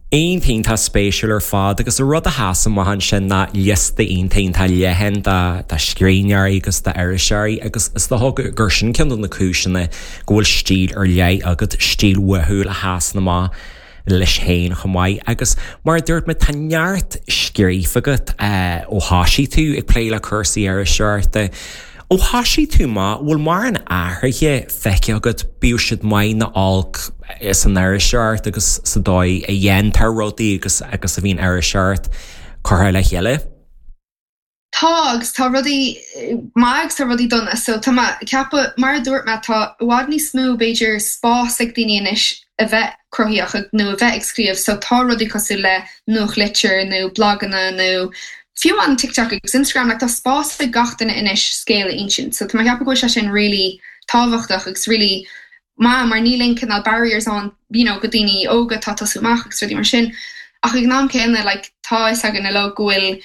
Iontach iontach spéisiúil ar fad agus an rud a sheas amach ansin ná liosta iontach iontach leathan de scríbhneoirí agus d'iriseoirí agus is dócha gur sin ceann de na cúiseanna go bhfuil stíl ar leith agat, stíl uathúil a sheasann amach. leis féin chomh maith. Agus mar a dúirt mé, tá neart scríofa agat ó thoisigh tú ag plé le cúrsaí iriseoireachta. Ó thoisigh tú amach, bhfuil mórán athruithe feicthe agat, bíodh siad maith nó olc, san iriseoireacht agus sa dóigh a dhéantar rudaí agus agus a bhíonn iriseoireacht curtha le chéile? Tá, agus tá rudaí maith agus tá rudaí dona. So tá mé ag ceapadh, mar a dúirt mé, tá i bhfad níos mó, b'fhéidir, spás ag daoine anois a bheith cruthaitheach nó a bheith ag scríobh. So tá rudaí cosúil le nuachtlitir nó blaganna nó fiú amháin TikTok agus Instagram, like tá spás ag gach duine anois scéal a insint. So tá mé ag ceapadh go bhfuil sé sin really tábhachtach agus really maith mar níl aon cineál barriers ann, you know, go daoine óga atá ag tosú amach agus rudaí mar sin. Ach ag an am céanna, like, tá a fhios againn uilig go bhfuil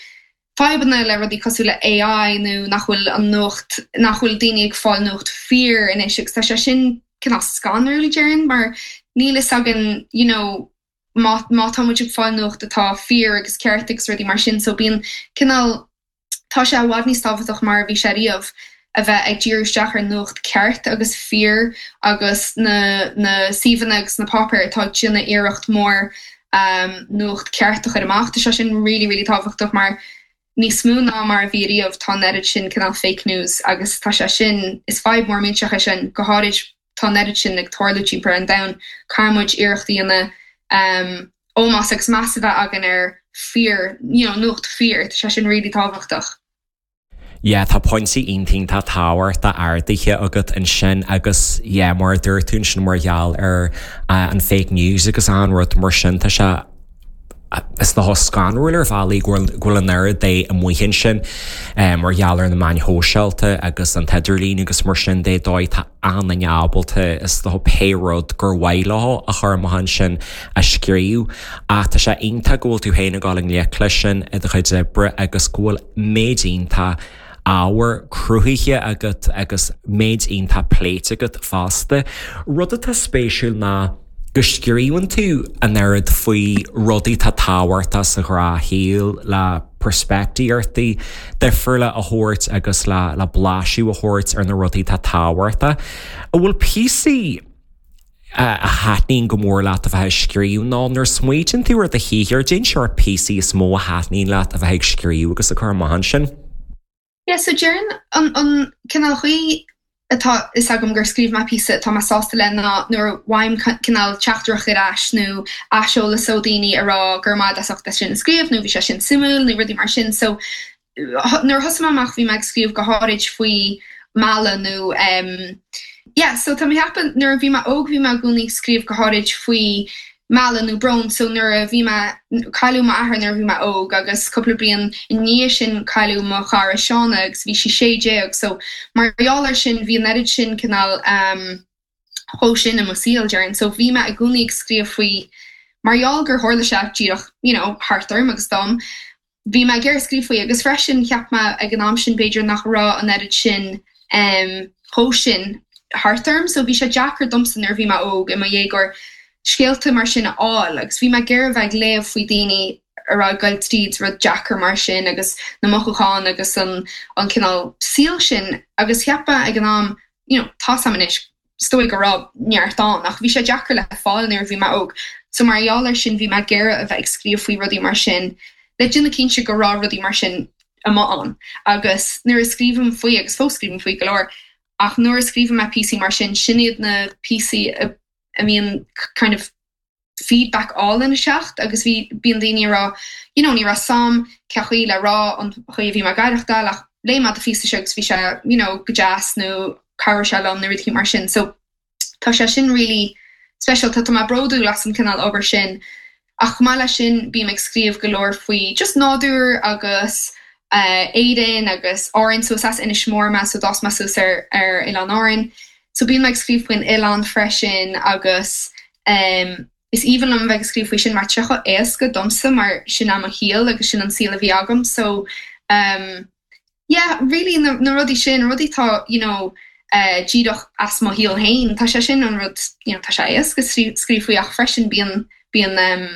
fadhbanna le rudaí cosúil le AI nó nach bhfuil an nuacht, nach bhfuil daoine ag fáil nuacht fíor anois agus tá sé sin cineál scanrúil, déarfainn, mar níl fhios againn, you know, má, má tá muid ag fáil nuacht atá fíor agus ceart agus rudaí mar sin so bíonn cineál, tá sé i bhfad níos tábhachtach mar a bhí sé riamh a bheith ag díriú isteach ar nuacht ceart agus fíor agus na na suíomhanna agus na páipéir atá ag déanamh iarracht mór nuacht ceart a chur amach. Tá sé sin really really tábhachtach mar níos mó ná mar a bhí riamh tá an oiread sin cineál fake news agus tá sé sin, is fadhb mór millteach é sin, go háirid tá an oiread sin ag tarlú timpeall ar an domhan. Caithfidh muid iarracht a dhéanamh ómós agus meas a bheith againn ar fíor, you know, nuacht fíor, tá sé sin really tábhachtach. Yeah, tá pointí iontach iontach tábhachtach ardaithe agat ansin agus yeah, mar a dúirt tú ansin mar gheall ar an fake news agus an rud mar sin, tá sé is dócha scanrúil ar bhealaí go bhfuil go bhfuil an oiread de amuigh ansin mar gheall ar na meáin shóisialta agus an t-idirlíon agus mar sin de dóigh tá aon duine ábalta is dócha pé rud gur mhaith leo a chur amach ansin a scríobh. Ach tá sé iontach go bhfuil tú féin ag dul i ngleic leis sin i do chuid oibre agus go bhfuil méid iontach ábhar cruthaithe agat agus méid iontach pléite agat fosta. Rud atá spéisiúil ná go scríobhann tú an oiread faoi rudaí atá tábhachtach sa ghnáthshaol le peirspictíochtaí difriúla a thabhairt agus le le blaiseadh a thabhairt ar na rudaí atá tábhachtach. An bhfuil píosaí a thaitníonn go mór leat a bheith ag scríobh nó nuair a smaoitíonn tú ar do shaothar, cad é an sórt píosaí is mó a thaitníonn leat a bheith ag scríobh agus ag cur amach ansin? Yeah, so déarfainn an an cineál chaoi atá fhios agam gur scríobh mé píosa atá mé sásta le ná nuair a bhfaighim cineál teachtaireacht ar ais nó aiseolas ó daoine a rá go raibh maith agat as ucht é sin a scríobh nó bhí sé sin suimiúil nó rudaí mar sin. So nuair a thosaigh mé amach bhí mé ag scríobh go háirid faoi mealladh nó em yeah so tá mé ag ceapadh nuair a bhí mé óg bhí mé i gcónaí ag scríobh go háirid faoi mealladh nó brón so nuair a bhí mé cailleadh m'athair nuair a bhí mé óg agus cúpla bliain i ndiaidh sin cailleadh mo chara Shauna agus bhí sí 16 so mar gheall ar sin bhí an oiread sin cineál em chomh sin i mo saol, déarfainn. So bhí mé i gcónaí ag scríobh faoi mar gheall gur tharla sé díreach you know thart orm agus dom. Bhí mé ag iarraidh scríobh faoi agus freisin cheap mé ag an am sin b'fhéidir nach raibh an oiread sin em chomh sin thart orm so bhí sé deacair domsa nuair a bhí mé óg i mo dhéagóir scéalta mar sin a fháil agus bhí mé ag iarraidh a bheith ag léamh faoi daoine. a raibh ag goil tríd rud deacair mar sin agus na mothúcháin agus an an cineál saoil sin agus cheap mé ag an am you know tá's a'm anois is dóigh go raibh neart ann ach bhí sé deacair le fáil nuair a bhí mé óg so mar gheall air sin bhí mé ag iarraidh a bheith ag scríobh faoi rudaí mar sin le déanamh cinnte go raibh rudaí mar sin amuigh ann agus nuair a scríobhaim faoi agus fós scríobhaim faoi go leor ach nuair a scríobhann mé píosaí mar sin sin iad na píosaí a a mbíonn kind of feedback álainn ag teacht agus bhí, bíonn daoine ag rá you know ní raibh 's a'm cén chaoi le rá an chaoi a bhí mé ag aireachtáil ach léigh mé do phíosa seo agus bhí sé you know go deas nó chabhraigh sé liom nó rudaí mar sin so tá sé sin really speisialta, tá mé bródúil as an cineál obair sin ach chomh maith leis sin bím ag scríobh go leor faoi just nádúr agus Éirinn agus Árainn so is as Inis Mór mé so d'fhás mé suas ar ar Oileán Árainn so bíonn mé ag scríobh faoin oileán freisin agus em is aoibhinn liom a bheith ag scríobh faoi sin mar tá sé chomh éasca domsa mar sin é mo shaol agus sin an saol a bhí agam so em yeah really na na rudaí sin rudaí atá you know eh díreach as mo shaol féin tá sé sin an rud you know tá sé éasca scríobh faoi ach freisin bíonn bíonn em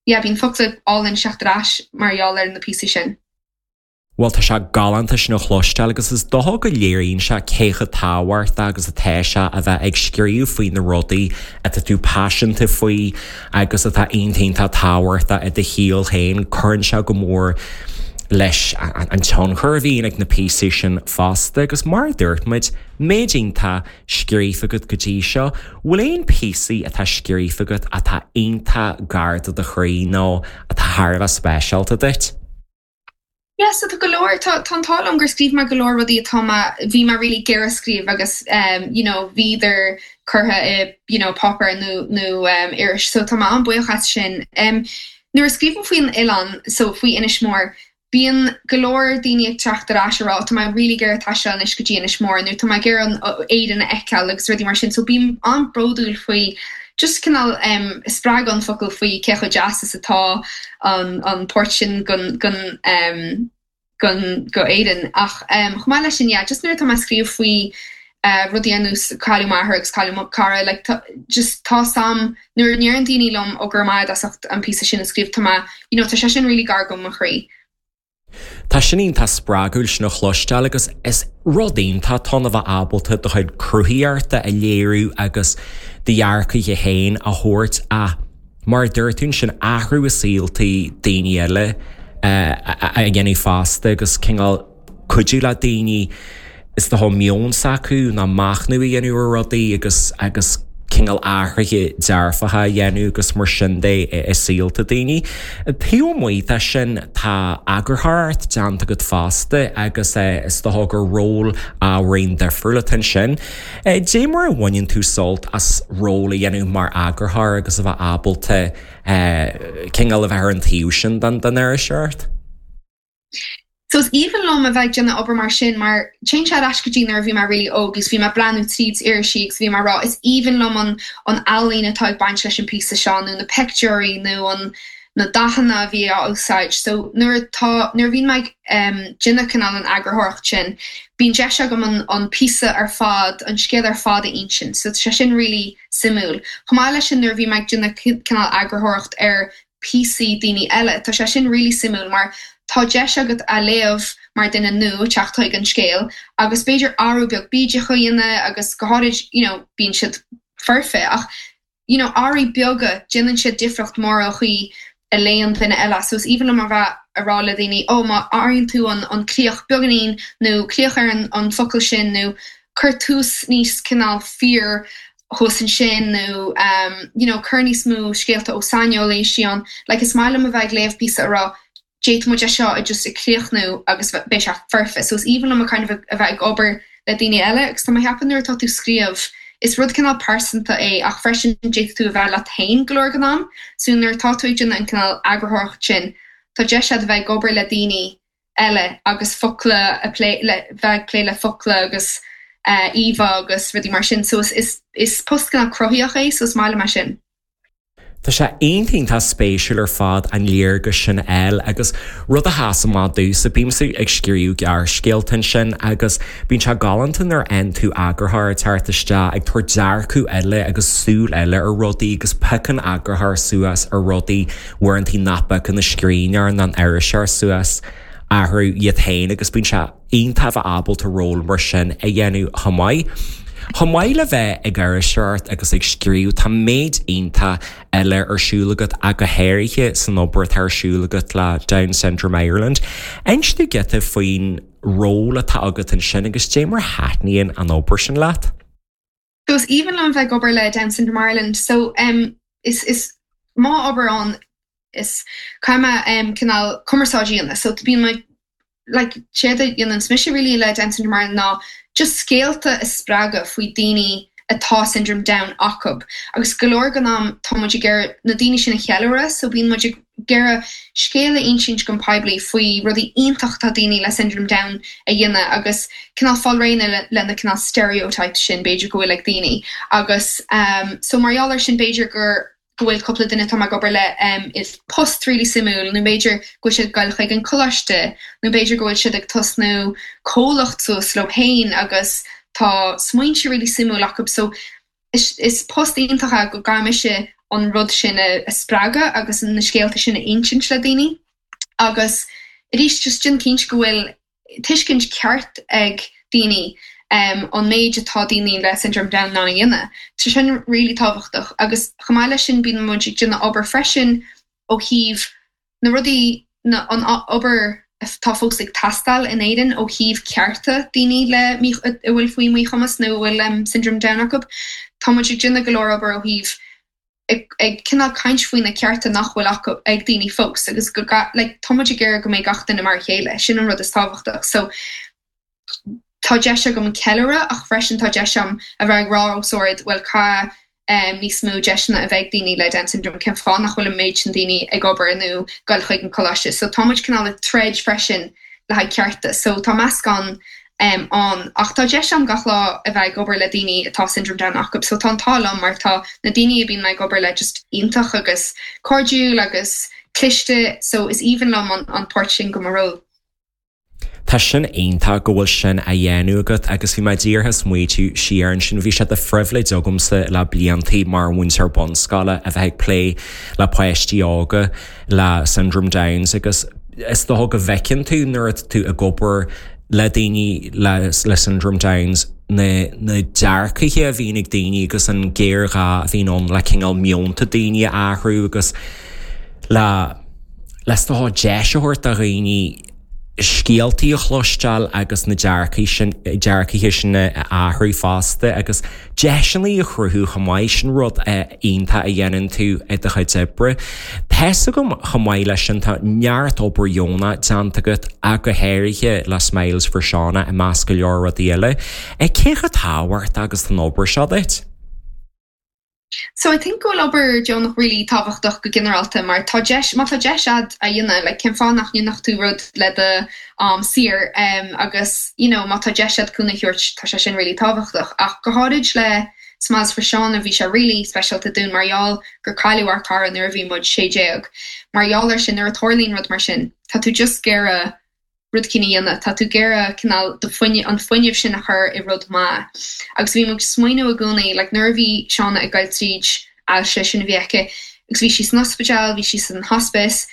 yeah bíonn focla álainn ag teacht ar ais mar gheall ar na píosaí sin. Bhuel, tá sé galánta sin a chloisteáil agus is dócha go léiríonn sé cé chomh tábhachtach agus atá sé a bheith ag scríobh faoi na rudaí atá tú paiseanta faoi agus atá iontach iontach tábhachtach i do shaol féin. Cuireann sé go mór leis an tionchar a bhíonn ag na píosaí sin fosta agus mar a dúirt muid, méid iontach scríofa agat go dtí seo, bhfuil aon píosaí atá scríofa agat atá iontach gar do do chroí nó atá thar a bheith speisialta duit? Yeah, so tá go leor, tá, tá an t-ádh liom gur scríobh mé go leor rudaí atá mé, bhí mé really ag iarraidh scríobh agus um you know bhíodar curtha i you know páipéar nó, nó um iris so tá mé an-buíoch as sin. Um nuair a scríobhaim faoin oileán, so faoi Inis Mór, bíonn go leor daoine ag teacht ar ais ag rá tá mé really ag iarraidh taisteal anois go dtí Inis Mór nó tá mé ag iarraidh an Éirinn a fheiceáil agus rudaí mar sin so bím an-bródúil faoi just cineál em spreagadh an focal faoi cé chomh deas is atá an an port sin gon gon em gon go Éirinn ach em chomh maith leis sin yeah just nuair atá mé ag scríobh faoi eh rudaí ar nós cailleadh m'athair agus cailleadh mo cara like tá just tá's a'm nuair a ndeireann daoine liom ó go raibh maith agat as ucht an píosa sin a scríobh tá mé you know tá sé sin really gar go mo chroí. Tá sin iontach spreagúil sin a chloisteáil agus is rud iontach atá ann a bheith ábalta do chuid cruthaíochta a léiriú agus do dhearcaithe féin a thabhairt ach mar a dúirt tú ansin athrú i saoltaí daoine eile a dhéanamh fosta agus cineál cuidiú le daoine is dócha meon s'acu ná machnamh a dhéanamh ar rudaí agus agus cineál athruithe dearfacha a dhéanamh agus mar sin de i saolta daoine. Taobh amuigh de sin tá eagarthóireacht déanta agat fosta agus is dócha gur ról ábhairín difriúil atá ansin. Dé mar a bhaineann tú sult as ról a dhéanamh mar eagarthóir agus a bheith ábalta cineál a bheith ar an taobh sin den iriseoireacht? So is aoibhinn liom a bheith ag déanamh obair mar sin mar téann sé ar ais go dtí nuair a bhí mé really óg agus bhí mé ag breathnú tríd irisí agus bhí mé ag rá is aoibhinn liom an an ealaín atá ag baint leis an píosa seo nó na pictiúirí nó an na dathanna a bhí á úsáid. So nuair atá nuair a bhíonn mé ag em déanamh cineál an eagarthóireacht sin bíonn deis agam an an píosa ar fad an scéal ar fad a insint so tá sé sin really suimiúil. Chomh maith leis sin nuair a bhí mé ag déanamh cineál eagarthóireacht ar píosaí daoine eile. Tá sé sin really suimiúil mar tá deis agat a léamh mar duine nua teacht chuig an scéal agus b'fhéidir athrú beag bídeach a dhéanamh agus go háirid you know bíonn siad foirfe ach you know athruithe beaga déanann siad difríocht mór an chaoi a léann duine eile so is aoibhinn liom a bheith a rá le daoine oh má athraíonn tú an an críoch beagáinín nó críoch ar an an focal sin nó cuir tús níos cineál fíor thuas ansin nó you know cuir níos mó scéalta ó saineolaí istigh ann. Like is maith liom a bheith ag léamh píosa a rá d'fhéadfadh muid é seo a just a chríochnú agus beidh sé foirfe. So is aoibhinn liom a kind of a bheith ag obair le daoine eile agus tá mé ag ceapadh nuair atá tú ag scríobh is rud cineál pearsanta é ach freisin d'fhéadfadh tú a bheith leat féin go leor den am. So nuair atá tú ag déanamh an cineál eagarthóireacht sin tá deis agat a bheith ag obair le daoine eile agus focla a plé le bheith ag plé le focla agus íomhá agus rudaí mar sin so is is post cineál cruthaitheach é so is maith liom é sin. Tá sé iontach iontach spéisiúil ar fad an léargas sin a fháil agus rud a sheas amach domhsa, bímse ag scríobh gearrscéalta ansin agus bíonn sé galánta nuair a fhaigheann tú eagarthóir ag teacht isteach ag tabhairt dearcadh eile agus súil eile ar rudaí agus piocann eagarthóir suas ar rudaí uaireanta nach bpiocann an scríbhneoir ná an iriseoir suas orthu iad féin agus bíonn sé iontach a bheith ábalta ról mar sin a dhéanamh chomh maith. Chomh maith le bheith ag iriseoireacht agus ag scríobh, tá méid iontach eile ar siúl agat ach go háirithe san obair atá ar siúl agat le Down Syndrome Ireland. Inis dúinn giota faoin ról atá agat ansin agus dé mar a thaitníonn an obair sin leat. So is aoibhinn liom bheith ag obair le Down Syndrome Ireland. So em is is m'obair ann is caithfidh mé em cineál cumarsáid a dhéanamh. So bíonn mé like séard a dhéananns mise really le Down Syndrome Ireland ná just scéalta a spreagadh faoi daoine atá Syndrome Down acu. Agus go leor den am tá muid ag iarraidh na daoine sin a cheiliúradh so bíonn muid ag ag iarraidh scéal a insint don poiblí faoi rudaí iontach atá daoine le Syndrome Down a dhéanamh agus cineál fáil réidh le na cineál stereotypes sin b'fhéidir go bhfuil ag daoine agus so mar gheall air sin b'fhéidir gur go bhfuil cúpla duine atá mé ag obair le i post really suimiúil nó b'fhéidir go bhfuil siad ag goil chuig an coláiste nó b'fhéidir go bhfuil siad ag tosnú comhlacht suas leo féin agus tá smaointe really suimiúil acu so Is post iontach é go gcaithfidh mise an rud sin a spreagadh agus na scéalta sin a insint le daoine agus arís just déan cinnte go bhfuil tuiscint ceart ag daoine an méid atá daoine le Syndrome Down in ann a dhéanamh. Tá sin really tábhachtach agus chomh maith leis sin bíonn muid ag déanamh obair freisin ó thaobh na rudaí, na, an obair atá fós ag teastáil in Éirinn ó thaobh cearta daoine le mí, a bhfuil faoi mhíchumas nó a bhfuil Syndrome Down acu. Tá muid ag déanamh go leor obair ó thaobh ag, ag cineál caint faoi na cearta nach bhfuil acu, ag daoine fós agus go, like, tá muid ag iarraidh go mbeidh gach duine mar a chéile. Sin an rud is tábhachtach. So, tá deis agam ceiliúradh ach freisin tá deis agam a bheith ag rá os ard, bhuel caithfidh níos mó deiseanna a bheith ag daoine le Down syndrome, cén fáth nach bhfuil an méid sin daoine ag obair nó ag goil chuig an coláiste. So tá muid cineál ag troid freisin le haghaidh cearta. So tá meascán ann ach tá deis agam gach lá a bheith ag obair le daoine atá Syndrome Down acu. So tá an t-ádh liom mar tá na daoine a bíonn mé ag obair le just iontach agus cairdiúil agus cliste so is aoibhinn liom an páirt sin de mo ról. Tá sin iontach go bhfuil sin á dhéanamh agat agus bhí mé díreach ag smaoitiú siar ansin, bhí sé de phribhléid agamsa le bliantaí mar mhúinteoir bunscoile a bheith ag plé le páistí óga le Syndrome Downs agus is dócha go bhfeiceann tú nuair atá tú ag obair le daoine le le Syndrome Downs na na dearcaithe a bhíonn ag daoine agus an géarghá a bhíonn ann le cineál meonta daoine a athrú agus le le is dócha deis a thabhairt do dhaoine scéaltaí a chloisteáil agus na dearcaí sin, dearcaithe sin a athrú fosta agus deiseanna a chruthú chomh maith, sin rud iontach a dhéanann tú i do chuid oibre. Tá's agam chomh maith leis sin tá neart obair dheonach déanta agat ach go háirithe le Smiles for Shauna i measc go leor rudaí eile. Cé chomh tábhachtach agus atá an obair seo duit? So I think go bhfuil obair deonach really tábhachtach go ginearálta mar tá deis, má tá deis a'd a dhéanamh, like cén fáth nach ndéanfadh tú rud le do am saor em agus you know má tá deis a'd cúnamh a thabhairt tá sé sin really tábhachtach. Ach go háirid le Smiles for Shauna bhí sé really speisialta dúinn mar gheall gur cailleadh ár cara nuair a bhí muid 16. Mar gheall ar sin nuair a tarlaíonn rud mar sin tá tú just ag iarraidh rud éicint a dhéanamh. Tá tú ag iarraidh cineál do fuinneamh, an fuinneamh sin a chur i rud maith. Agus bhí muid ag smaoineamh i gcónaí, like nuair a bhí Shauna ag goil tríd ailse sin a bhí aici agus bhí sí san ospidéal, bhí sí san hospice,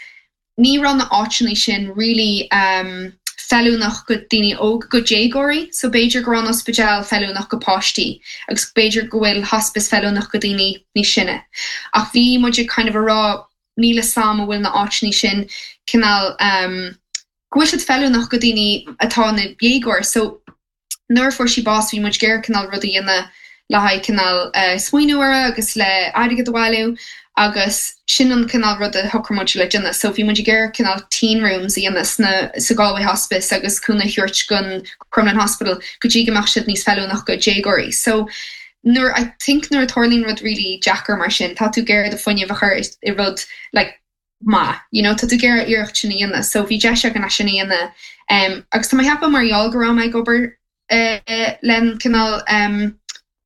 ní raibh na áiteanna sin really um feiliúnach go daoine óga, go déagóirí. So b'fhéidir go raibh an ospidéal feiliúnach go páistí agus b'fhéidir go bhfuil hospice feiliúnach go daoine níos sine. Ach bhí muid ag kind of a rá níl 'fhios a'm an bhfuil na áiteanna sin cineál ehm go bhfuil siad feiliúnach go daoine atá ina dhéagóir so nuair a fuair sí bás bhí muid ag iarraidh cineál rud a dhéanamh le haghaidh cineál eh smaoineamh uirthi agus le airgead a bhailiú agus sin an cineál rud a shocraigh muid le déanamh so bhí muid ag iarraidh cineál teen rooms a dhéanamh sna sa Galway Hospice agus cúnamh a thabhairt gon Crumlin Hospital go dtí go mbeadh siad níos feiliúnach go déagóirí so nuair, I think nuair a tarlaíonn rud really deacair mar sin, tá tú ag iarraidh do fuinneamh a chur i rud like maith, you know, tá tú ag iarraidh iarracht sin a dhéanamh. So bhí deis againn é sin a dhéanamh. Um, agus tá mé ag ceapadh mar gheall go raibh mé ag obair uh, len cineál um,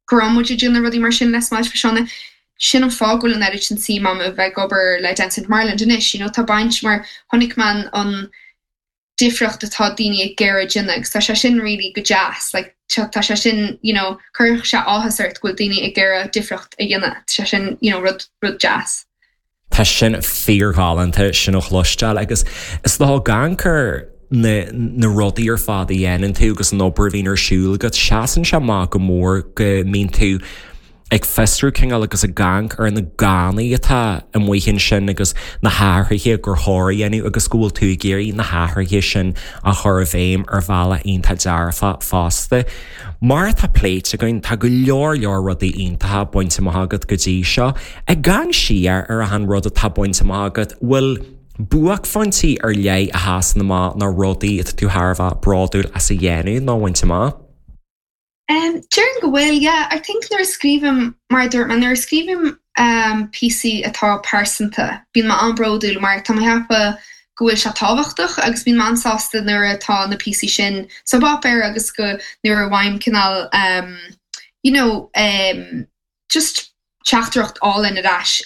go raibh muid ag déanamh rudaí mar sin le Smiles for Shauna. Sin an fáth go bhfuil an oiread sin suim a'm a bheith ag obair le Down Syndrome Ireland anois, you know, tá baint mar chonaic mé an difríocht atá daoine ag iarraidh déanamh agus tá sé sin really go deas, like tá sé sin, you know, cuirfidh sé áthas ort go bhfuil daoine ag iarraidh difríocht a dhéanamh, tá sé sin, you know, rud, rud deas. Tá sin fíorghalánta sin a chloisteáil agus is dócha ag amharc ar na na rudaí ar fad a dhéanann tú agus an obair a bhíonn ar siúl agat, seasann sé amach go mór go mbíonn tú ag fiosrú cineál agus ag amharc ar na gánaí atá amuigh ansin agus na hathruithe gur chóir a dhéanamh agus go bhfuil tú ag iarraidh na hathruithe sin a chur i bhfeidhm ar bhealach iontach dearfach fosta. Mar atá pléite againn, tá go leor leor rudaí iontacha bainte amach agat go dtí seo. Ag amharc siar ar achan rud atá bainte amach agat, bhfuil buaicphointí ar leith a sheasann amach nó rudaí atá tú thar a bheith bródúil as a dhéanamh nó a bhaint amach? Um, déarfainn go bhfuil, yeah. I think nuair a scríobhaim, mar a dúirt mé, nuair a scríobhaim um, píosaí atá pearsanta, bíonn mé an-bhródúil mar tá mé ag ceapadh go bhfuil sé tábhachtach agus bíonn mé an-sásta nuair atá na píosaí sin sa bpáipéar agus go nuair a bhfaighim cineál um, you know, um, just teachtaireacht álainn ar ais.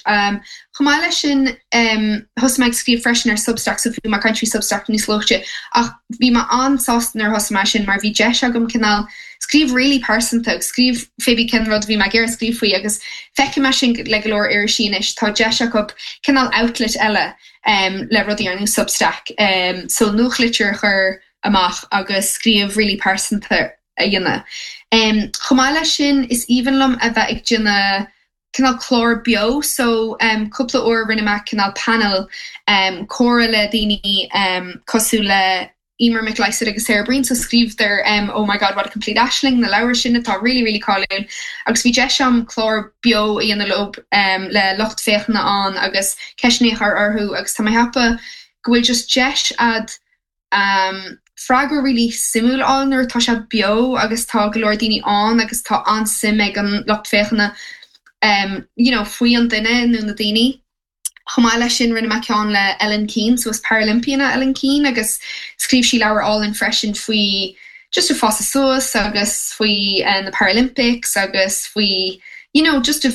Chomh maith leis sin, thosaigh mé ag scríobh freisin ar Substack, so bhí mé ag caint faoi Substack níos luaithe, ach bhí mé an-sásta nuair a thosaigh mé sin mar bhí deis agam cineál scríobh really pearsanta agus scríobh fé bith cén rud a bhí mé ag iarraidh scríobh faoi agus feicim é sin le go leor irisí anois, tá deis acu cineál outlet eile le rudaí ar nós Substack, so nuachtlitir a chur amach agus scríobh really pearsanta. a dhéanamh. Chomh maith leis sin, is aoibhinn liom a bheith ag déanamh cineál clár beo so cúpla uair rinne mé cineál panel comhrá le daoine cosúil le Emer McLysaght agus Sarah Breen so scríobhadar Oh My God What a Complete Aisling na leabhair sin atá really really cáiliúil agus bhí deis agam clár beo a dhéanamh leo le lucht féachana ann agus ceisteanna a chur orthu agus tá mé ag ceapadh go bhfuil just deis a'd freagra really suimiúil a fháil nuair atá sé beo agus tá go leor daoine ann agus tá an-suim ag an lucht féachana you know faoi an duine nó na daoine. Chomh maith leis sin rinne mé ceann le Ellen Keane, so is Paralympian é Ellen Keane agus scríobh sí leabhar álainn freisin faoi just ag fás suas agus faoi na Paralympics agus faoi you know just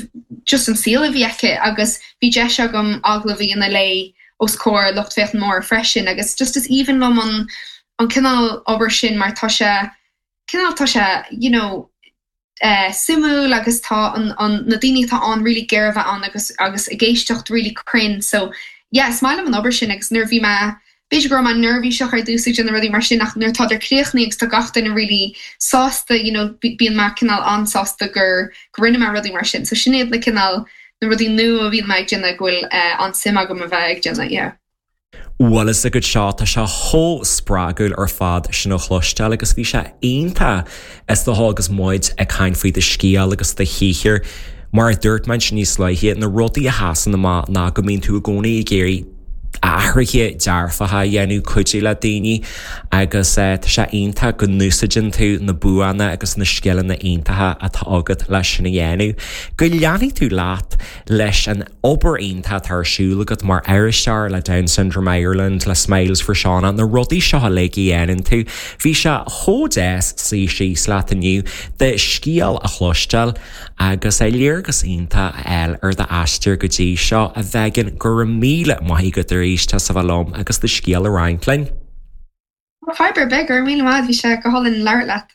just an saol a bhí aici agus bhí deis agam agallamh a dhéanamh léi os comhair lucht féachana mór freisin agus just is aoibhinn liom an an cineál obair sin mar tá sé cineál tá sé you know eh suimiúil agus tá an an na daoine atá ann really ag iarraidh a bheith ann agus agus ag éisteacht really cruinn so yeah is maith liom an obair sin agus nuair a bhí mé b'fhéidir go raibh mé neirbhíseach ar dtús ag déanamh rudaí mar sin ach nuair atá críochnaithe agus tá gach duine really sásta you know bíonn mé cineál an-sásta gur go rinne mé rudaí mar sin so sin iad na cineál na rudaí nua a bhíonn mé ag déanamh go bhfuil an-suim agam a bheith ag déanamh, yeah. Bhuel is agat seo, tá sé chomh spreagúil ar fad sin a chloisteáil agus bhí sé iontach is dócha agus muid ag caint faoi do scéal agus do shaothar. Mar a dúirt mé ansin níos luaithe, na rudaí a sheasann amach ná go mbíonn tú i gcónaí ag iarraidh athruithe dearfacha a dhéanamh, cuidiú le daoine agus tá sé iontach go n-úsáideann tú na buanna agus na scileanna iontacha atá agat leis sin a dhéanamh. Go leanfaidh tú leat leis an obair iontach atá ar siúl agat mar iriseoir le Down Syndrome Ireland, le Smiles for Shauna, na rudaí seo uilig a dhéanann tú. Bhí sé chomh deas suí síos leat inniu, do scéal a chloisteáil. Agus léargas iontach a fháil ar d'aistear go dtí seo, a Mhegan, go raibh míle maith agat arís as a bheith liom agus do scéal a roinnt linn. Fadhb ar bith, go raibh míle maith, bhí sé go hálainn labhairt leat.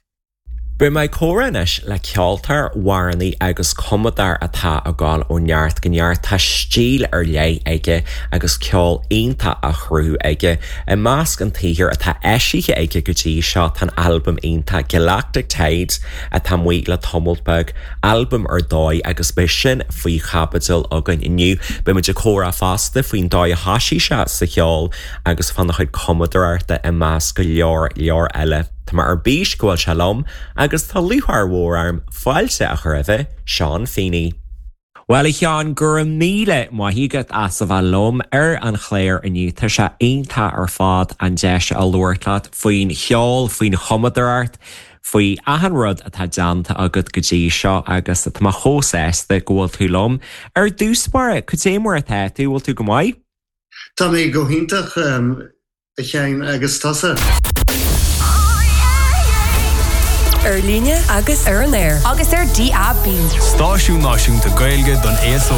Beidh mé ag comhrá anois le ceoltóir, amhránaí agus cumadóir atá ag dul ó neart go neart. Tá stíl ar leith aige agus ceol iontach á chruthú aige. I measc an tsaothair atá eisithe aige go dtí seo tá an albam iontach Galactic Tides, atá amuigh le tamalt beag, albam ar dóigh agus beidh sin faoi chaibidil againn inniu. Beidh muid ag comhrá fosta faoin dóigh a thosaigh sé sa cheol agus fána chuid cumadóireachta i measc go leor leor eile. Tá mé ar bís go bhfuil sé liom agus tá lúcháir mhór orm fáilte a chur roimhe, Seán Feeney. Bhuel, a Sheáin, go raibh míle maith agat as a bheith liom ar an chlár inniu. Tá sé iontach ar fad an deis a labhairt leat faoin cheol, faoin chumadóireacht, faoi achan rud atá déanta agat go dtí seo agus tá mé chomh sásta go bhfuil tú liom. Ar dtús báire, cad é mar atá tú? Bhfuil tú go maith? Tá mé go hiontach, a Sheáin, agus tusa? Ar líne agus ar an aer. Agus ar DAB. Stáisiún náisiúnta Gaeilge don aos óg.